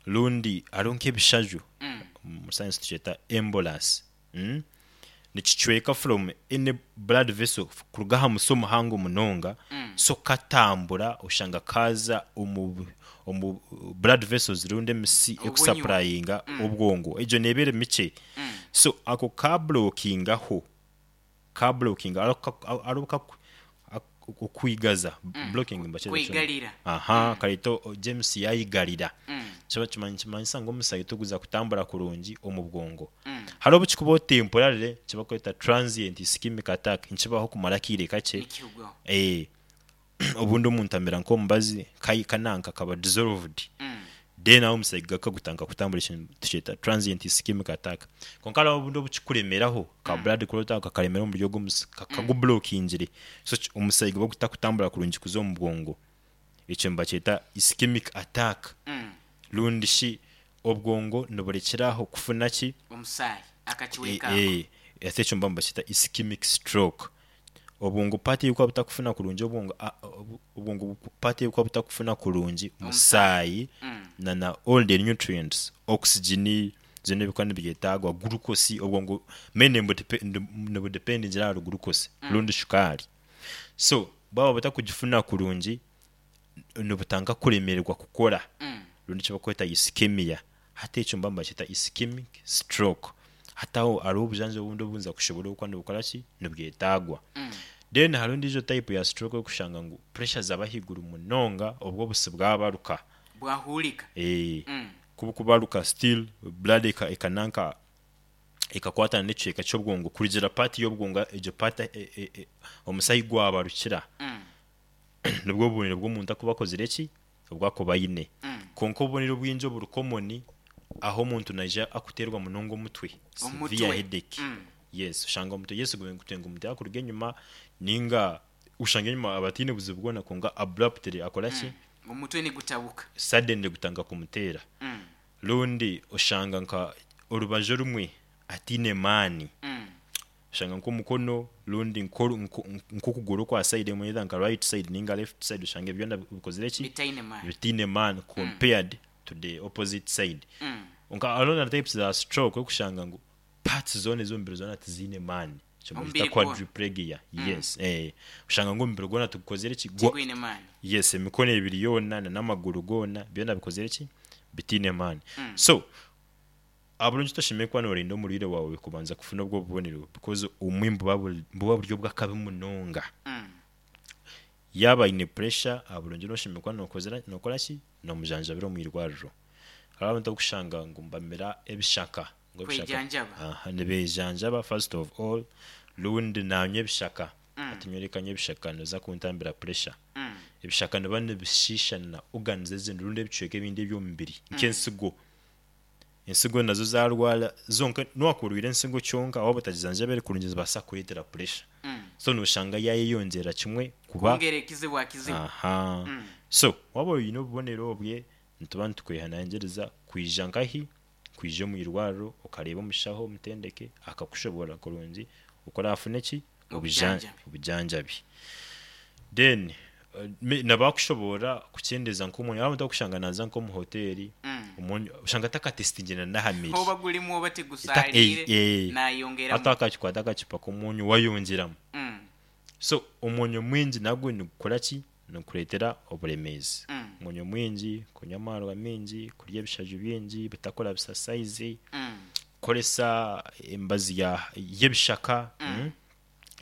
Speaker 2: rundi hariho nk'ebishaju,
Speaker 1: Mm.
Speaker 2: mu science tukyeta embolus, mm? Nikicweka from any blood vessel kuruga aha musi omuhango munonga.
Speaker 1: Mm.
Speaker 2: So katambura, oshanga kaza omu omu blood vessels rundi emisi
Speaker 1: Obunywa.
Speaker 2: ekusupplyinga obwongo, egyo neeba eri mikye.
Speaker 1: Mm.
Speaker 2: So ako kablockingaho, kablockinga, hariho kaku- ak- okwigaza, blocking mbakyeta.
Speaker 1: Kwigarira.
Speaker 2: Aha, kareeta o- James yayigarira.
Speaker 1: Mm.
Speaker 2: Kiba kimanyi- kimanyisa ngu omusaayi tuguza kutambura kurungi omu bwongo.
Speaker 1: Mm.
Speaker 2: Hariho obu kikubaho temporarily, kibakweta transient ischemic attack, nikibaho kumara akiire kakye.
Speaker 1: Nikihugwaho.
Speaker 2: Eh, obundi omuntu amera nk'omubazi kai- kananka kaba dissolved,
Speaker 1: Mm.
Speaker 2: then aho omusaayi gakagutanga kutambura, ekintu tukyeta transient ischemic attack. Konka hariho obundi obukikuremeraho ka blood clot ako kakaremera omu buryo bw'omusi kakagublockingiire, so ki- omusaayi guba gutakutambura kurungi kuza omu bwongo, ekyo nibakyeta ischemic attack.
Speaker 1: Mm.
Speaker 2: Rundi shi obwongo niburekyeraho kufuna ki?
Speaker 1: Omusaayi akakiweka.
Speaker 2: Eh, eh, ate ekyo mba nibakyeta ischemic stroke. Obwongo part ey'okuba butakufuna kurungi obwongo, a- obu- obwongo part ey'okuba butakufuna kurungi musaayi
Speaker 1: Mm.
Speaker 2: na na all the nutrients, oxygen, zino ebikuba nibyetagwa, glucose. Obwongo mainly nibudependingira ahari glucose rundi shukaari. So bwaba butakugifuna kurungi, nibutanga kuremererwa kukora,
Speaker 1: Mm.
Speaker 2: rundi ekibakweta ischemia. Hati ekyo mba nibakyeta ischemic stroke. Hati aho hariho obujanjabi obundi obunza kushobora okuba nibukora ki, nibwetagwa.
Speaker 1: Mm.
Speaker 2: Then hariho endiijo type ya stroke okushanga ngu pressure zaba ahaiguru munonga, obwo obusi bwabaruka.
Speaker 1: Bwahurika.
Speaker 2: Eh,
Speaker 1: Mm.
Speaker 2: kubukubaruka, still blood eka ekananka ekakwatana n'ekicweka ky'obwongo, kurugira part y'obwongo egyo part e, e, e, omusaayi gwabarukira.
Speaker 1: Mm.
Speaker 2: Nibwo obubonero bw'omuntu akuba akozire ki, obwakuba aine.
Speaker 1: Mm.
Speaker 2: Konka obubonero bwingi oburi common, aho omuntu naija akuterwa munonga omutwe,
Speaker 1: Omutwe.
Speaker 2: severe headache.
Speaker 1: Mm.
Speaker 2: Yes, oshanga omuntu, yes, gutenga omuntu yakuruga enyuma, ninga ushanga enyuma abatiine buzibu bwona, konka abruptly akora ki?
Speaker 1: Omutwe nigutabuka.
Speaker 2: Suddenly gutanga kumuteera.
Speaker 1: Mm.
Speaker 2: Rundi oshanga nka orubaju rumwe atiine maani.
Speaker 1: Mm.
Speaker 2: Oshanga nk'omukono rundi nko- nko- nk'okuguru kwa side emwe, either nka right side ninga left side, oshanga byona bikozire ki?
Speaker 1: Bitaine maani.
Speaker 2: Bitiine maani compared to the opposite side.
Speaker 1: Mm.
Speaker 2: Nka hariho na types za stroke okushanga ngu parts zona ez'omubiri zona tiziine maani, kyo
Speaker 1: Omubiri
Speaker 2: bakita
Speaker 1: gwona.
Speaker 2: quadriplegia. Yes, eh, oshanga ngu omubiri gwona tugukozire ki? Gwa-
Speaker 1: Tigwine maani.
Speaker 2: Yes, emikono ebiri yoona na n'amaguru goona, byona bikozire ki, bitiine maani. So aburungi toshemeye kuba norinda omurwaire wawe kubanza kufuna obwo bubonero, because omwe buba buri buba buri obw'akabi munonga.
Speaker 1: Mm.
Speaker 2: Yaba aine pressure, aburungi noshemeye kuba nokozera nokora ki, nomujanjabira omu irwariro. Hariho abantu abokushanga ngu mbamira ebishaka, ngu ebishaka-
Speaker 1: Kwejanjaba.
Speaker 2: Aha, nibejanjaba first of all, rundi nanywa ebishaka, ati nyoreka nywa ebishaka noza kuntambira pressure.
Speaker 1: Mm.
Speaker 2: Ebishaka niba nibishishana organs ezindi rundi ebicweka ebindi eby'omubiri nk'ensigo. Ensigo nazo zarwara zonka, niwakurwire ensigo kyonka waba otagizanjabire kurungi zibaasa kukureetera pressure.
Speaker 1: Mm.
Speaker 2: So noshanga yayeyongyera kimwe kuba
Speaker 1: Kwongera ekizibu aha kizibu.
Speaker 2: Aha.
Speaker 1: Mm.
Speaker 2: So waba oine obubonero obwe, nituba nitukwehanangiriza kwija nkahi, kwija omu irwariro okareeba omushaho omutendeke akakushobora kurungi okurafune ki? Obuja-
Speaker 1: Obujanjabi.
Speaker 2: Obujanjabi. Then eh, me- nabakushobora kukyendeza nk'omwanya abantu akushanga naza nk'omu hoteri,
Speaker 1: Mm.
Speaker 2: omwanya oshanga takatestingire n'aha mere.
Speaker 1: Oba gulimu oba
Speaker 2: Eta-
Speaker 1: tegusalire,
Speaker 2: eh, eh.
Speaker 1: nayongeramu.
Speaker 2: Ate akakikwata akacupa k'omwonyo wayongyeramu.
Speaker 1: Mm.
Speaker 2: So omwonyo mwingi nagwo nigukora ki? Nigukureetera oburemeezi.
Speaker 1: Mm.
Speaker 2: Omwonyo mwingi, kunywa amarwa mingi, kurya ebishaju bingi, butakora bisasayizi,
Speaker 1: Mm.
Speaker 2: kukoresa embazi ya y'ebishaka, mm.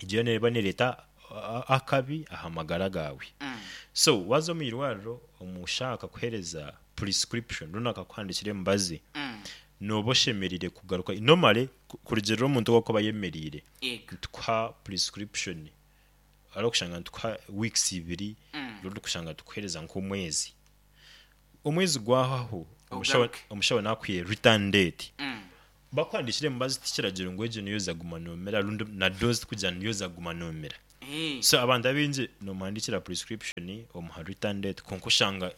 Speaker 2: egyo neeba nereeta a- akabi aha magara gaawe.
Speaker 1: Mm.
Speaker 2: So waza omu irwariro, omushaho akakuheereza prescription rundi akakuhandikira emibazi,
Speaker 1: Mm.
Speaker 2: nooba oshemereire kugaruka normally ku- kurugirira omuntu owakuba ayemereire.
Speaker 1: Yego.
Speaker 2: Nitukuha prescription, ari okushanga nitukuha weeks ibiri,
Speaker 1: Mm.
Speaker 2: rundi kushanga tukuheereza nk'omwezi. Omwezi gwahaho, omushaho
Speaker 1: Ogaruke.
Speaker 2: omushaho nakuha return date.
Speaker 1: Mm.
Speaker 2: Bakuhandikira emibazi, tikiragiro ngu egyo niyo zaguma nomera, rundi na dose kugira niyo zaguma nomera.
Speaker 1: Eh.
Speaker 2: So abantu abingi nomuhandikira prescription, omuha return date, konka oshanga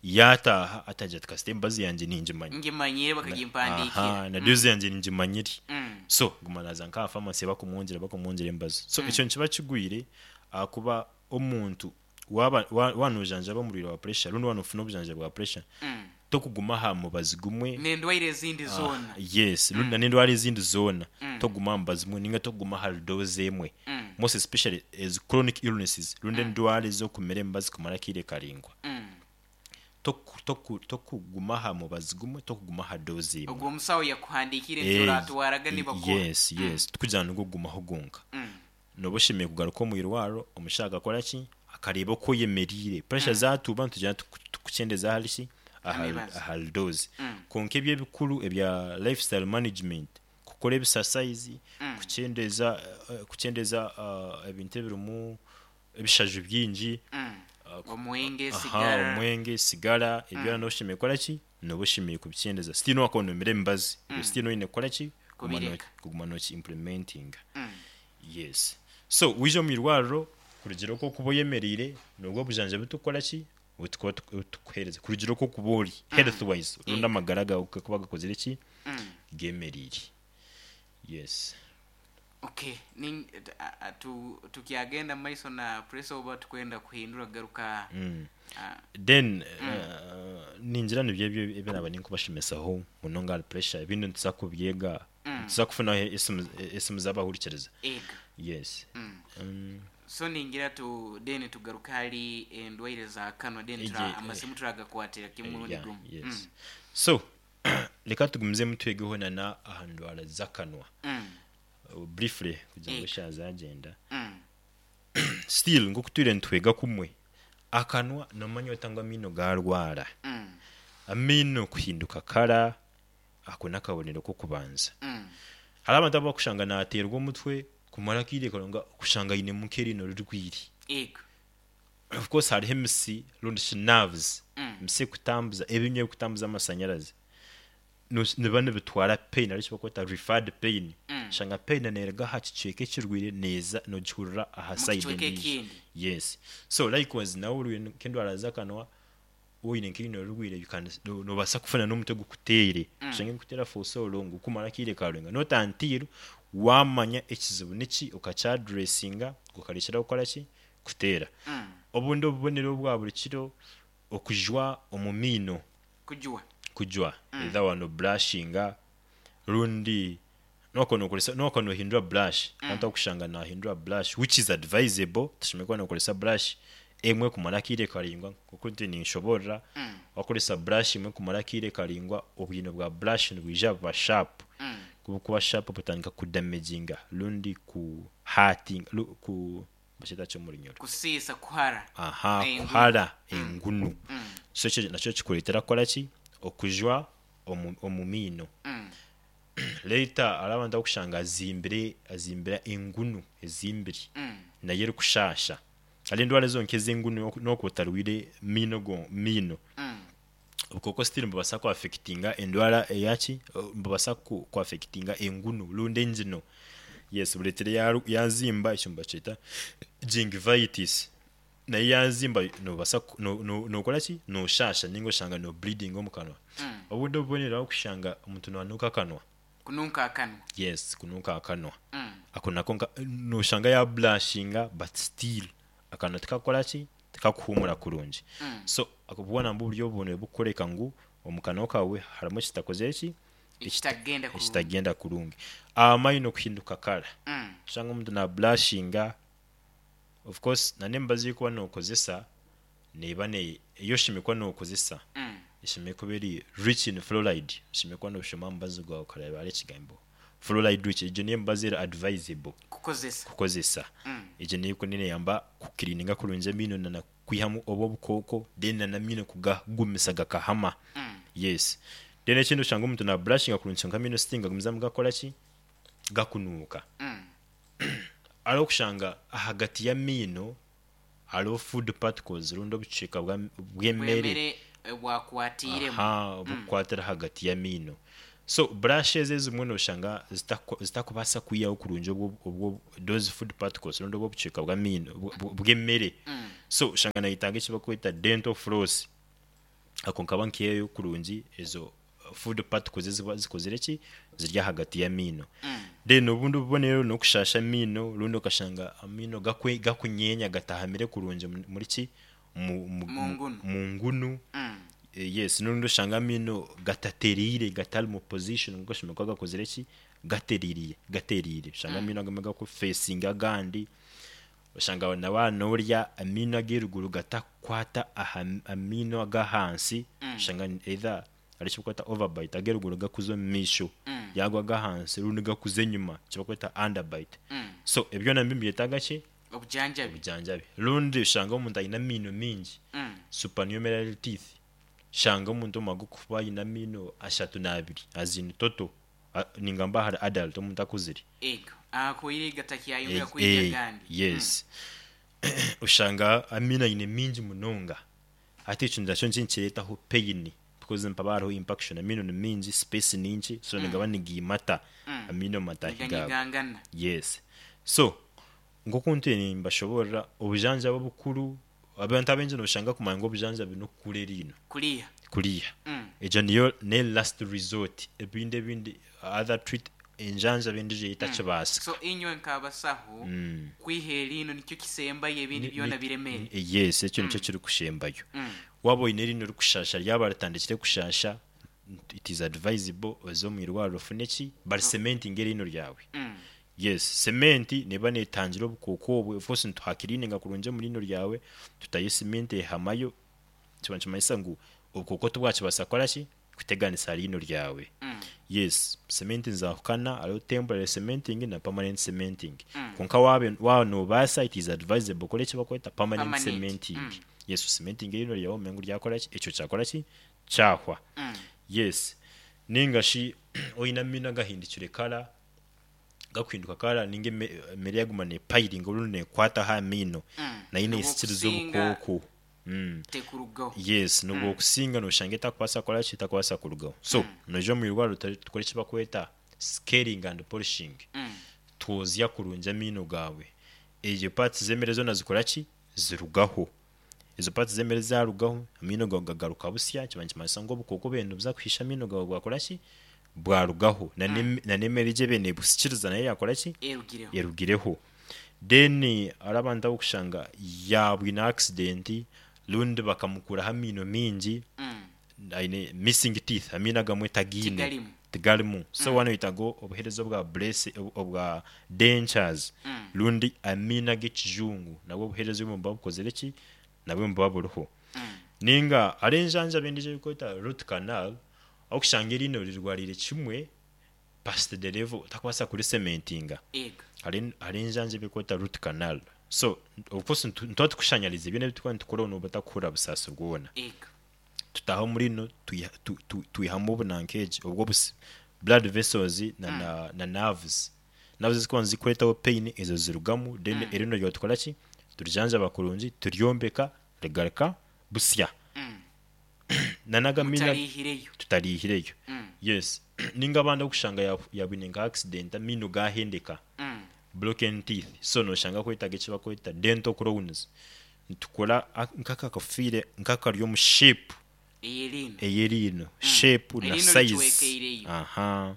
Speaker 2: yataaha atagira ati kasita emibazi yangye ningimanya.
Speaker 1: Ngimanyire,
Speaker 2: Aha,
Speaker 1: bakagimpandiikira.
Speaker 2: na dose yangye ningimanyire.
Speaker 1: Mm.
Speaker 2: So guma naza nka pharmacy, bakumwongyera bakumwongyera emibazi. So ekyo nikiba kigwire ahakuba omuntu waba wa- wanojanjaba omurwaire wa pressure rundi wanofuna obujanjabi bwa pressure,
Speaker 1: Mm.
Speaker 2: tokuguma aha mubazi gumwe.
Speaker 1: N'endwaire ezindi zoona.
Speaker 2: Yes, rundi na n'endwara ezindi zoona,
Speaker 1: Mm.
Speaker 2: toguma aha mubazi gumwe ninga toguma aha dose emwe,
Speaker 1: Mm.
Speaker 2: most especially as chronic illnesses rundi endwara ez'okumira emibazi kumara akaire karingwa.
Speaker 1: Mm.
Speaker 2: Toku- toku- tokuguma aha mubazi gumwe, tokuguma aha dose emwe.
Speaker 1: Ogwo omusawo yakuhandiikire
Speaker 2: Eh,
Speaker 1: nti oratwaraga nibakora.
Speaker 2: yes yes tukugira nigwo gumaho gonka.
Speaker 1: Mm.
Speaker 2: Noba oshemereire kugaruka omu irwariro, omushaho akakora ki? Akareeba oku oyemereire, pressure zatuuba, nitugira tukukyendeza ahari ki? Aha-
Speaker 1: Emibazi.
Speaker 2: Ahari dose.
Speaker 1: Mm.
Speaker 2: Konka ebyo ebikuru ebya lifestyle management, kukora ebisasayizi,
Speaker 1: Mm.
Speaker 2: kukyendeza eh, kukyendeza ah, ebintu ebirimu ebishaju bingi,
Speaker 1: Mm. omwenge,
Speaker 2: aha,
Speaker 1: sigara.
Speaker 2: omwenge, sigara, ebyo mm. Oshemereire kukora ki? Noba oshemereire kubikyendeza. Still nowakaba nomira emibazi, mm. still noine kukora ki? Kuguma no-
Speaker 1: Kubireka.
Speaker 2: Kuguma noki implementinga.
Speaker 1: Mm.
Speaker 2: Yes, so wija omu irwariro, kurugira oko okuba oyemereire, nobwo obujanjabi tukora ki? Butukuba tukuheereza kurugira oko okuba ori health wise, rundi amagara gawe gakuba gakozire ki?
Speaker 1: Mm.
Speaker 2: Gemereire, yes.
Speaker 1: Okay, Nin- a- a- tu- tukyagenda maiso na pressure oba tukwenda kuhindura kugaruka?
Speaker 2: mm.
Speaker 1: Ah,
Speaker 2: Then uh, ningira nibyo ebyo ebinaba ninkubashomesaho munonga ahari pressure. Ebindi nituza kubyega, nituza kufunaho esimu esimu z'abahurikiriza.
Speaker 1: Ega.
Speaker 2: Yes.
Speaker 1: Mm.
Speaker 2: Mm.
Speaker 1: So ningira tu then tugaruka hali endwaire za kanwa, then tura,
Speaker 2: Ege-
Speaker 1: amasimu turagakwatira kimwe murundi
Speaker 2: yeah,
Speaker 1: gumu.
Speaker 2: Yes, so reka tugumizemu twegeho nana aha ndwara z'akanwa.
Speaker 1: Mm.
Speaker 2: Uh, briefly kugira ngu
Speaker 1: Ego.
Speaker 2: eshaaha zagenda.
Speaker 1: Mm.
Speaker 2: Still nk'oku twire nitwega kumwe, akanwa nomanya ota ngu amaino garwara?
Speaker 1: Mm.
Speaker 2: Amaino kuhinduka kara, ako n'akabonero k'okubanza.
Speaker 1: Mm.
Speaker 2: Hari abantu abakushanga naterwa omutwe kumara akaire karonga, kushanga ainemu nk'eriino rirwire.
Speaker 1: Ego.
Speaker 2: Of course hariho emisi rundi shi nerves,
Speaker 1: Mm.
Speaker 2: emisi ekutambuza ebinywa, ebikutambuza amasanyarazi, No- niba nibitwara pain, aricyo bakweta referred pain.
Speaker 1: Mm.
Speaker 2: Shanga pain neerega aha kicweka ekirwire, neeza nogihurira aha
Speaker 1: Mu
Speaker 2: side
Speaker 1: kicweka
Speaker 2: endiijo.
Speaker 1: ekindi.
Speaker 2: Yes, so likewise nawe orwire nk'endwara z'akanwa, oine nk'eriino rirwire, you can- no- nobaasa kufuna n'omutwe gukuteere,
Speaker 1: Mm.
Speaker 2: oshange nikuteera for so long, kumara akaire karenga notantiru wamanya ekizibu niki, okakyaddressinga, gukarekyera kukora ki? Kuteera.
Speaker 1: Mm.
Speaker 2: Obundi obubonero bwa buri kiro, okujwa omu miino.
Speaker 1: Kujwa.
Speaker 2: Kujwa, either wano brushinga rundi nokono okoresa nokono ohindura brush. Abantu akushanga nahindura brush, which is advisable. Tushime kuba nokoresa brush emwe kumara akaire karingwa, kuko nti ninshoborera.
Speaker 1: Mm.
Speaker 2: Wakoresa brush imwe kumara akaire karingwa, obwino bwa brush nibwija buba sharp.
Speaker 1: Mm.
Speaker 2: Kuba sharp, butandika kudamaginga rundi ku hurting, lu- ku bakita kyo mu Runyoro?
Speaker 1: Kusiisa, kuhara.
Speaker 2: Aha.
Speaker 1: Engunu.
Speaker 2: Kuhara engunu.
Speaker 1: Mm.
Speaker 2: So ekyo nakyo kikureetera kukora ki? Okujwa omu, omu miino.
Speaker 1: Mm.
Speaker 2: Later hari abantu abakushanga azimbire azimbira engunu ezimbire,
Speaker 1: Mm.
Speaker 2: nayo erikushasha. Hari endwara ezo nk'ez'engunu, n'okuba otarwire miino go miino.
Speaker 1: Mm.
Speaker 2: Obukooko still nibubasa kuaffectinga endwara eyaki, nibubasa ku kuaffectinga engunu rundi engino. Yes, bureetere yaru- yazimba, ekyo nibakyeta gingivitis. Nayo yazimba nobaasa no- no- nokoraki, nooshaasha ninga oshanga no bleedinga omu kanwa.
Speaker 1: Mm.
Speaker 2: Obundi obubonero ahu kushanga omuntu naanuuka akanwa.
Speaker 1: Kununka akanwa.
Speaker 2: Yes, kunuuka akanwa.
Speaker 1: Mm.
Speaker 2: Ako nako nka noshanga yabrushinga but still akanwa tikakukoraki, tikakuhuumura kurungi.
Speaker 1: Mm.
Speaker 2: So ako bwona nibwo obubonero obukukoreka ngu omu kanwa kawe harimu ekitakozire ki,
Speaker 1: ekitagenda kurungi.
Speaker 2: Ekitagenda kurungi. Amaino kuhinduka kara.
Speaker 1: Mm.
Speaker 2: Oshanga omuntu nabrushinga, of course na n'emibazi ei okuba nookozesa neeba ne ei oshemereire kuba nookozesa
Speaker 1: Mm.
Speaker 2: eshemereire kuba eri rich in fluoride. Oshemereire kuba nooshoma aha mubazi gwawe okareeba hariho ekigambo fluoride rich, egyo niyo emibazi eri advisable
Speaker 1: kukozesa.
Speaker 2: Kukozesa.
Speaker 1: Mm.
Speaker 2: Egyo niyo neeyamba kucleaninga kurungi amaino na kwihamu obu obukooko, then na n'amaino kugagumisa gakahama.
Speaker 1: Mm.
Speaker 2: Yes, then ekindi oshanga omuntu nabrushinga kurungi kyonka amaino still nigagumizamu gakoraki, gakunuuka.
Speaker 1: Mm.
Speaker 2: Hariho okushanga ahagati y'amaino hariho food particles rundi obucweka bwa- bw'emere
Speaker 1: bwemere eh, bwakwatiiremu.
Speaker 2: Aha, obukukwatira ahagati y'amaino. So brushes ezimwe noshanga zitaku- zitakubaasa kwihaho kurungi obwo obwo those food particles rundi obwo obucweka bw'amaino bw- bw- bw'emere.
Speaker 1: Mm.
Speaker 2: So oshanga nayetaaga eki bakweta dental floss, ako nkaba nkihayo kurungi ezo food particles eziba zikozire ki, ziri ahagati y'amaino.
Speaker 1: Mm.
Speaker 2: Then obundi obubonero n'okushasha amaino, rundi okashanga amaino gakwe gakunyeenya, gatahamire kurungi mu- muri ki, mu, mu,
Speaker 1: Mu ngunu.
Speaker 2: mu ngunu.
Speaker 1: Mm.
Speaker 2: Eh, yes, n'orundi oshanga amaino gatateriire, gatari mu position nkoku gashemeriire kuba gakozire ki, gateriire gateriire. Oshanga amaino agamwe gakufacinga agandi, oshanga na waaba noorya amaino ag'eruguru gatakukwata aha amaino ag'ahansi.
Speaker 1: Mm.
Speaker 2: Oshanga either hariho eki bakweta overbite, ag'eruguru gakuza omu maisho
Speaker 1: Mm.
Speaker 2: yagwa ag'ahansi, rundi gakuza enyuma, eki bakweta underbite.
Speaker 1: Mm.
Speaker 2: So ebyo nabyo nibyetaaga ki?
Speaker 1: Obujanjabi.
Speaker 2: Obujanjabi. Rundi oshanga omuntu aine amaino mingi,
Speaker 1: Mm.
Speaker 2: supernumerary teeth, shanga omuntu omwe agukuba aine amaino ashatu n'abiri as in total. A- ningamba ahari adult, omuntu akuzire.
Speaker 1: Ego akwire gatakyayongera
Speaker 2: Eh,
Speaker 1: kwija
Speaker 2: eh,
Speaker 1: gandi.
Speaker 2: Yes, oshanga amaino aine mingi munonga, hati ekyo nakyo nikireetaho pain because mpaba hariho impaction, amaino ni mingi, space ninki, so nigaba nigiimata
Speaker 1: Mm.
Speaker 2: amaino matahi gaabo.
Speaker 1: Niganyigangana.
Speaker 2: Yes, so nk'oku ntwire nimbashoborera obujanjabi obukuru, abantu abaingi noshanga kumanya ngu obujanjabi n'okukura eriino.
Speaker 1: Kuriya.
Speaker 2: Kuriya.
Speaker 1: Mm.
Speaker 2: Egyo niyo ne last resort, ebindi ebindi other treat enjanjaba endiijo etakibaasika.
Speaker 1: So inywe nk'abasaho,
Speaker 2: Mm.
Speaker 1: kwiha eriino nikyo kisembayo, ebindi
Speaker 2: Ni-
Speaker 1: byona
Speaker 2: ni-
Speaker 1: biremere?
Speaker 2: Yes, ekyo nikyo kirikushembayo.
Speaker 1: Mm.
Speaker 2: Waaba oine eriino rikushasha, ryaba ritandikire kushasha, it is advisable oze omu irwariro ofune ki, baricementinga eriino ryawe.
Speaker 1: Mm.
Speaker 2: Yes, cement neba netangira obukooko obwe. Of course nituhacleaninga kurungi omu riino ryawe, tutayo cement ehamayo, kiba nikimanyisa ngu obukooko tibwakibaasa kukora ki, kuteganisa riino ryawe.
Speaker 1: Mm.
Speaker 2: Yes, cement nizahukana, hariho temporary cementing na permanent cementing.
Speaker 1: Mm.
Speaker 2: Konka waaba waaba nobaasa, it is advisable okore eki bakweta permanent
Speaker 1: Permanent.
Speaker 2: cementing.
Speaker 1: Mm.
Speaker 2: Yes, cementing eriino ryawe omenye ngu ryakora ki, ekyo kyakora ki, kyahwa.
Speaker 1: Mm.
Speaker 2: Yes, ninga shi oine amaino agahindukire kara, gakuhinduka kara, ninga eme- emere yaguma nepilinga orundi nekwata aha maino,
Speaker 1: Mm.
Speaker 2: nayo nesikiriza
Speaker 1: N'obwokusinga
Speaker 2: obukooko. Mm.
Speaker 1: tekurugaho.
Speaker 2: Yes, nobwo okusinga noshanga etakubaasa kukora ki, etakubaasa kurugaho. So noija omu irwariro tukore tukore eki bakweta scaling and polishing.
Speaker 1: Mm.
Speaker 2: Twozya kurungi amaino gaawe, egyo parts z'emere zoona zikora ki, zirugaho. Ezo parts z'emere zarugaho, amaino gawe gagaruka busya, kiba nikimanyisa ngu obukooko bwenda buza kuhisha amaino gawe bwakora ki, bwarugaho, na n'em- na n'emere egyo ebe nebusikiriza nayo yakora ki,
Speaker 1: erugireho.
Speaker 2: Erugireho. Then hariho abantu abokushanga yabwine accident, rundi bakamukuraho amaino mingi.
Speaker 1: Mm.
Speaker 2: Aine missing teeth, amaino agamwe tagiine.
Speaker 1: Tigarimu.
Speaker 2: Tigarimu. So wano oyetaga obuheereza obwa brace, obwa dentures,
Speaker 1: Mm.
Speaker 2: rundi amaino ag'ekijungu, nabwo obuheereza obumwe buba bukozire ki, nabwo buba buriho.
Speaker 1: Mm.
Speaker 2: Ninga hariho enjanjaba endiijo ei barikweta root canal, okushanga eriino rirwariire kimwe past the level otakubaasa kuricementinga.
Speaker 1: Ego.
Speaker 2: Hariho hariho enjanjaba erikweta root canal. So of course ntu- nituba tukushanyariza ebyona ebi turikuba nitukora, noba otakuhurira busaasi bwona.
Speaker 1: Ego.
Speaker 2: Tutaha omuri ino, twiha- tu- tu- twihamu obunankeegi obwo obusi blood vessels na, na, na nerves nerves zikuba nizikureetaho pain, ezo zirugamu. Then mm. erino ryawe tukora ki, turijanjaba kurungi, turyombeka rigaruka busya.
Speaker 1: Mm.
Speaker 2: Nanagamina
Speaker 1: Mutalihireyo.
Speaker 2: Tutalihireyo.
Speaker 1: Mm.
Speaker 2: Yes, ninga abandi okushanga ya- yabwine nka accident, amino gahendeka,
Speaker 1: Mm.
Speaker 2: broken teeth, so noshanga kwetaga eki bakweta dental crowns. Nitukora a- nk'akakafiire nk'akari omu shape
Speaker 1: Ey'eriino.
Speaker 2: Ey'eriino shape na
Speaker 1: Eriino
Speaker 2: size.
Speaker 1: Litwekeireyo.
Speaker 2: Aha,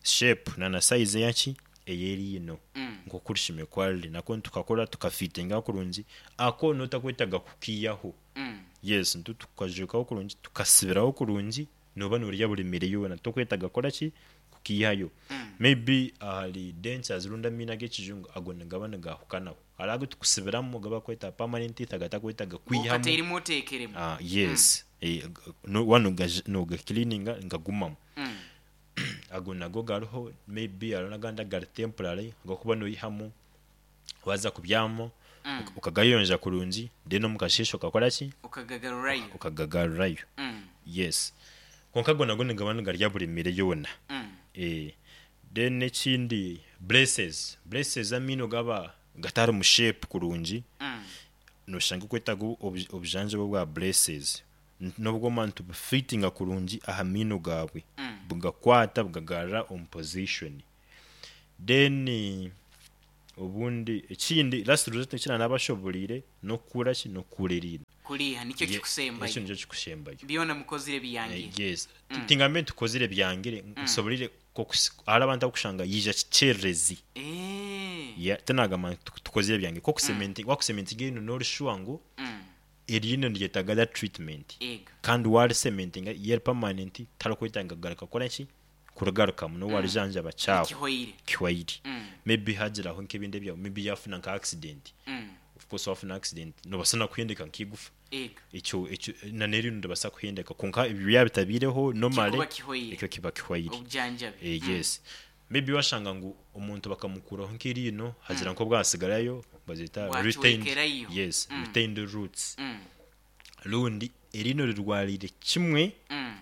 Speaker 2: shape na na size eyaki ey'eriino
Speaker 1: Mm.
Speaker 2: nk'oku rishime kwariri nako tukakora tukafitinga kurungi, ako notakwetaga kukiiyaho.
Speaker 1: Mm.
Speaker 2: Yes, ntu tukajukaho kurungi, tukasibiraho kurungi, noba norya buri mere yoona, tokwetaga kukora ki, kukiihayo.
Speaker 1: Mm.
Speaker 2: Maybe ahari dentures rundi amaino ag'ekijungu, ago nigaba nigahukanaho. Hariho agu tukusibiramu gabakweta permanent teeth, agatakwetaga kwihamu.
Speaker 1: Okateerimu oteekeremu.
Speaker 2: Ah, yes. Eh, g- no- wano nogacleaninga ngagumamu.
Speaker 1: Mm.
Speaker 2: Ago nago gariho. Maybe hariho n'agandi agari temporary, agakuba noyihamu waza kubyama,
Speaker 1: Mm.
Speaker 2: ukagayonja kurungi, then omu kasheeshe okakora ki?
Speaker 1: Okagagarurayo.
Speaker 2: Ukagagarurayo.
Speaker 1: Mm.
Speaker 2: Yes, konka ago nago nigaba nigarya buri mere yoona.
Speaker 1: Mm.
Speaker 2: Eh, then ekindi, braces. Braces, amaino gaba gatari mu shape kurungi,
Speaker 1: Mm.
Speaker 2: noshanga okwetaga obu- obujanjabi bwa braces. N- nobwo mani tubufitinga kurungi aha maino gawe,
Speaker 1: Mm.
Speaker 2: bugakwata bugagarra omu position. Then eh, obundi ekindi, last resort, ekina nabashoboreire nokukura ki, nokukura eriino.
Speaker 1: Kuliha nikyo
Speaker 2: Ye-
Speaker 1: kikusembayo.
Speaker 2: Ekyo nikyo kikusembayo.
Speaker 1: Byona mukozire biyangire.
Speaker 2: Eh, yes, tingambe ntukozire byangire, nsoboleire kokusi- hariho abantu abakushanga yija kikyererezi.
Speaker 1: Eh.
Speaker 2: Ya, tinagamba nti tukozire byange, kokusementi wakusementinga ino norishuwa ngu
Speaker 1: Mm.
Speaker 2: eriino niryetaga that treatment,
Speaker 1: Ego.
Speaker 2: kandi warisementinga yeri permanent, tarikwetanga kugaruka kukora ki, kurugarukamu nowarijanjaba kyawe.
Speaker 1: Kihoire.
Speaker 2: Kiwairi.
Speaker 1: Mm.
Speaker 2: Maybe hagiraho nk'ebindi ebyawe, maybe yafuna nka accident.
Speaker 1: Mm.
Speaker 2: Of course, wafuna accident nobasa nakuhendeka nk'igufa.
Speaker 1: Ego.
Speaker 2: Ekyo ekyo nanerino ndabasa kuhendeka, konka ebyo byabitabireho normally,
Speaker 1: Kikuba kihoire.
Speaker 2: ekyo kiba kihoire.
Speaker 1: Obujanjabi.
Speaker 2: Eh, yes, maybe washanga ngu omuntu bakamukuraho nk'eriino, hagira nko bwasigarayo, bazita retained.
Speaker 1: Bwacwekerayo.
Speaker 2: Yes,
Speaker 1: Mm.
Speaker 2: retained roots,
Speaker 1: Mm.
Speaker 2: rundi eriino rirwarire kimwe,
Speaker 1: Mm.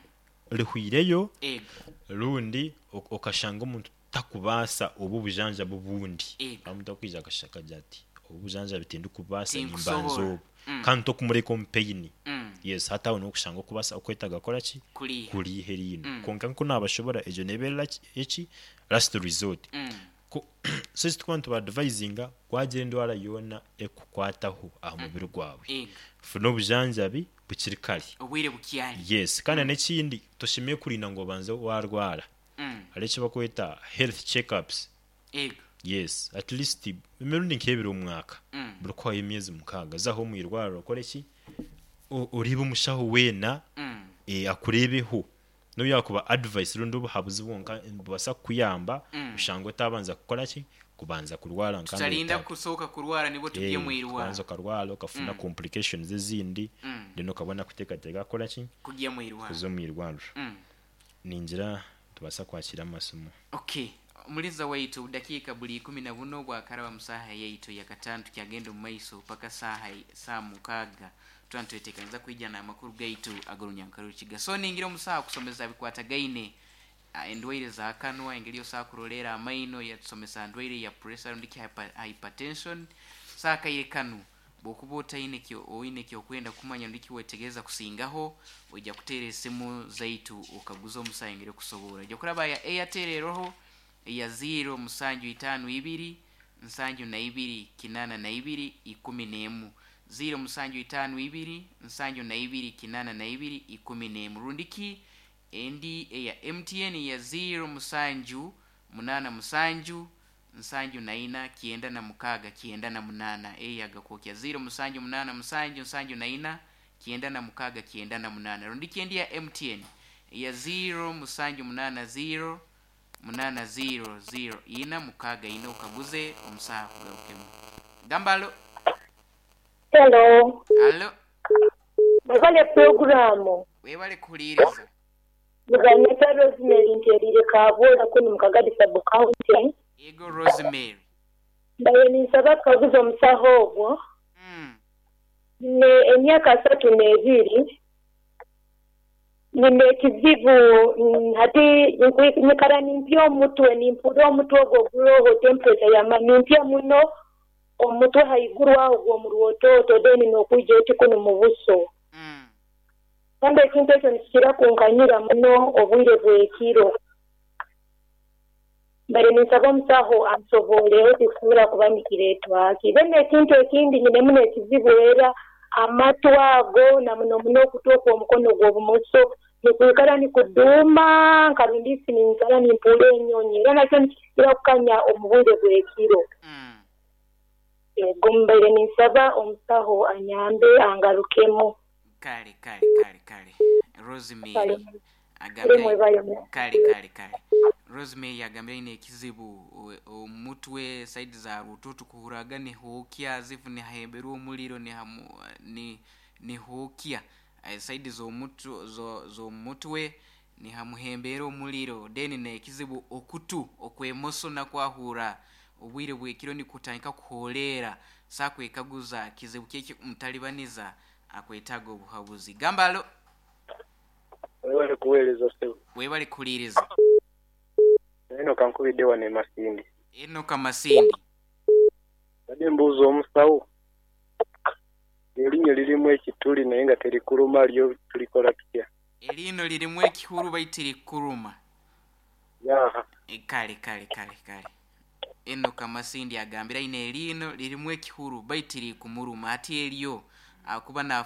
Speaker 2: rihwireyo,
Speaker 1: Ego.
Speaker 2: rundi ok- okashanga omuntu takubaasa obu obujanjabi obundi.
Speaker 1: Ego.
Speaker 2: Omuntu akwija akashaka agira ati obu obujanjabi tindikubaasa,
Speaker 1: Tinkusobola.
Speaker 2: nimbanza obu,
Speaker 1: Mm.
Speaker 2: kandi tokumureka omu pain.
Speaker 1: Mm.
Speaker 2: Yes, hati aho nokushanga okubasa okwetaga kukora ki,
Speaker 1: Kuliha.
Speaker 2: kuriha eriino.
Speaker 1: Mm.
Speaker 2: Konka nku nabashobora, egyo nebeera ki- eki last resort.
Speaker 1: Mm.
Speaker 2: Ko- so eki tukuba nitubaadvisinga, wagira endwara yoona ekukwataho aha mubiri gwawe,
Speaker 1: Ego.
Speaker 2: funa obujanjabi bukiri kare.
Speaker 1: Obwire bukyali.
Speaker 2: Yes, kandi n'ekindi, toshemeye kurinda ngu obanze warwara.
Speaker 1: Mm.
Speaker 2: Hariho eki bakweta health checkups.
Speaker 1: Ego.
Speaker 2: Yes, at least emirundi nk'ebiri omu mwaka,
Speaker 1: Mm.
Speaker 2: buri kuhayo emyezi mukaaga, zaho omu irwariro okore ki, O- oreebe omushaho weena,
Speaker 1: Mm.
Speaker 2: eh, akureebeho nobu yakuba advice rundi obuhabuzi bwonka bubasa kukuyamba,
Speaker 1: Mm.
Speaker 2: oshanga otabanza kukora ki, kubanza kurwara nka
Speaker 1: Tutalinda
Speaker 2: mbere.
Speaker 1: kusooka kurwara nibwo tujye mu irwaro.
Speaker 2: Kubanza okarwara okafuna
Speaker 1: Mm.
Speaker 2: complications ezindi,
Speaker 1: Mm.
Speaker 2: then okabona kuteekateeka kukora ki,
Speaker 1: kujya mu irwaro.
Speaker 2: Kuza omu irwariro.
Speaker 1: Mm.
Speaker 2: Ningira tubasa kwakira amasomo.
Speaker 1: Okay, omuliza waitu, dakiika buli ikumi na buno bwakaraba mu saaha yaitu yakataano, tukyagenda omu maiso paka saaha saa mukaaga. Tuba nitweteekaniza kwija n'amakuru gaitu ag'orunyankarukiga. So ningira omu saaha kusomesa bikwatagaine ah, endwaire za kanwa, engeri osobola kurolera amaino, yatusomesa ndwaire ya pressure rundi ki hyper- hypertension. Saa kaire kanu bwokuba otaine kyo oine kyokwenda kumanya rundi kiwetegereza kusingaho, ojja kuteera esimu zaitu okaguza omusaha engeri okusobola. Ojja kuraba ya Airtel eroho eya ziro musanju itaano ibiri nsanju na ibiri kinana na ibiri ikumi n'emu, ziro musanju itaano ibiri nsanju na ibiri kinana na ibiri ikumi n'emu, rundi ki endi eya M T N ya ziro musanju munana musanju nsanju na ina kyenda na mukaaga kyenda na munana. Eyo yagakwokya ziro musanju munana musanju nsanju na ina kyenda na mukaaga kyenda na munana, rundi ki endi ya M T N ya ziro musanju munana ziro munana ziro ziro ina mukaaga ina, okaguze omusaha kugarukemu. Gamba alo.
Speaker 3: Hello.
Speaker 1: Alo.
Speaker 3: Mwebale puroguramu.
Speaker 1: Webale kuhuliriza.
Speaker 3: Muganyeta Rosemary nterire Kabola kunu mu Kagadi sub county.
Speaker 1: Ego, Rosemary.
Speaker 3: Mbaye ninsaba tukaguza omusaho ogwo.
Speaker 1: mm.
Speaker 3: Ne emyaka asatu n'ebiri nina ekizibu, mm, hati nkwi- nyikara nimpya omutwe, nimpura omutwe ogwo guroho temperature yama nimpya muno omutwe haiguru aho gw'omu rwototo, then n'okwija oti kunu mu buso.
Speaker 1: Mm.
Speaker 3: Kandi ekintu ekyo nikikira kunkanyira muno obwire bw'ekiro. Mbere ninsaba omusaho ansoboleho tikisobora kuba nikireetwa ki. Then ekintu ekindi nyinemu n'ekizibu era amatu ago na muno muno okutu okw'omukono gw'obumoso nikwikara nikuduuma nkarundisi ninkara nimpuura enyonyi era nakyo nikikira kukanya omu bwire bw'ekiro.
Speaker 1: Mm.
Speaker 3: Ego mbaire ninsaba omusaho anyambe angarukemu.
Speaker 1: Kale kale kale kale. Rosemary
Speaker 3: Kale kale
Speaker 1: agambire
Speaker 3: mwebayo mu.
Speaker 1: Kale kale kale. Rosemary agambire aine ekizibu o- omutwe side za rututu kuhuraga nihookya zifu nihahemberwa omuliro nihamu ni nihookya Eh, side z'omutwe zo- z'omutwe nihamuhembera omuliro, then nekizibu okutu okwemoso nakwahura obwire bwekiro nikutandika kuholeera sakwekaguza kizibu kyeki mutalibaniza akwetaaga obuhabuzi. Gambalo.
Speaker 4: Webale kuweereza ssebo.
Speaker 1: Webale kuhuliriza.
Speaker 4: Eno kankubidde wano e Masindi.
Speaker 1: Eno Kamasindi.
Speaker 4: Badde mbuuza omusawo, erinnyo lirimu ekituli naye nga terikuluma, lyo tulikola tutya?
Speaker 1: Eriino lirimu ekihuru baitu likuruma.
Speaker 4: Yaha.
Speaker 1: E, kale kale kale kale. Eno Kamasindi agambira aine eriino lirimu ekihuru baitu likumuruma, ati eryo akuba nafuna.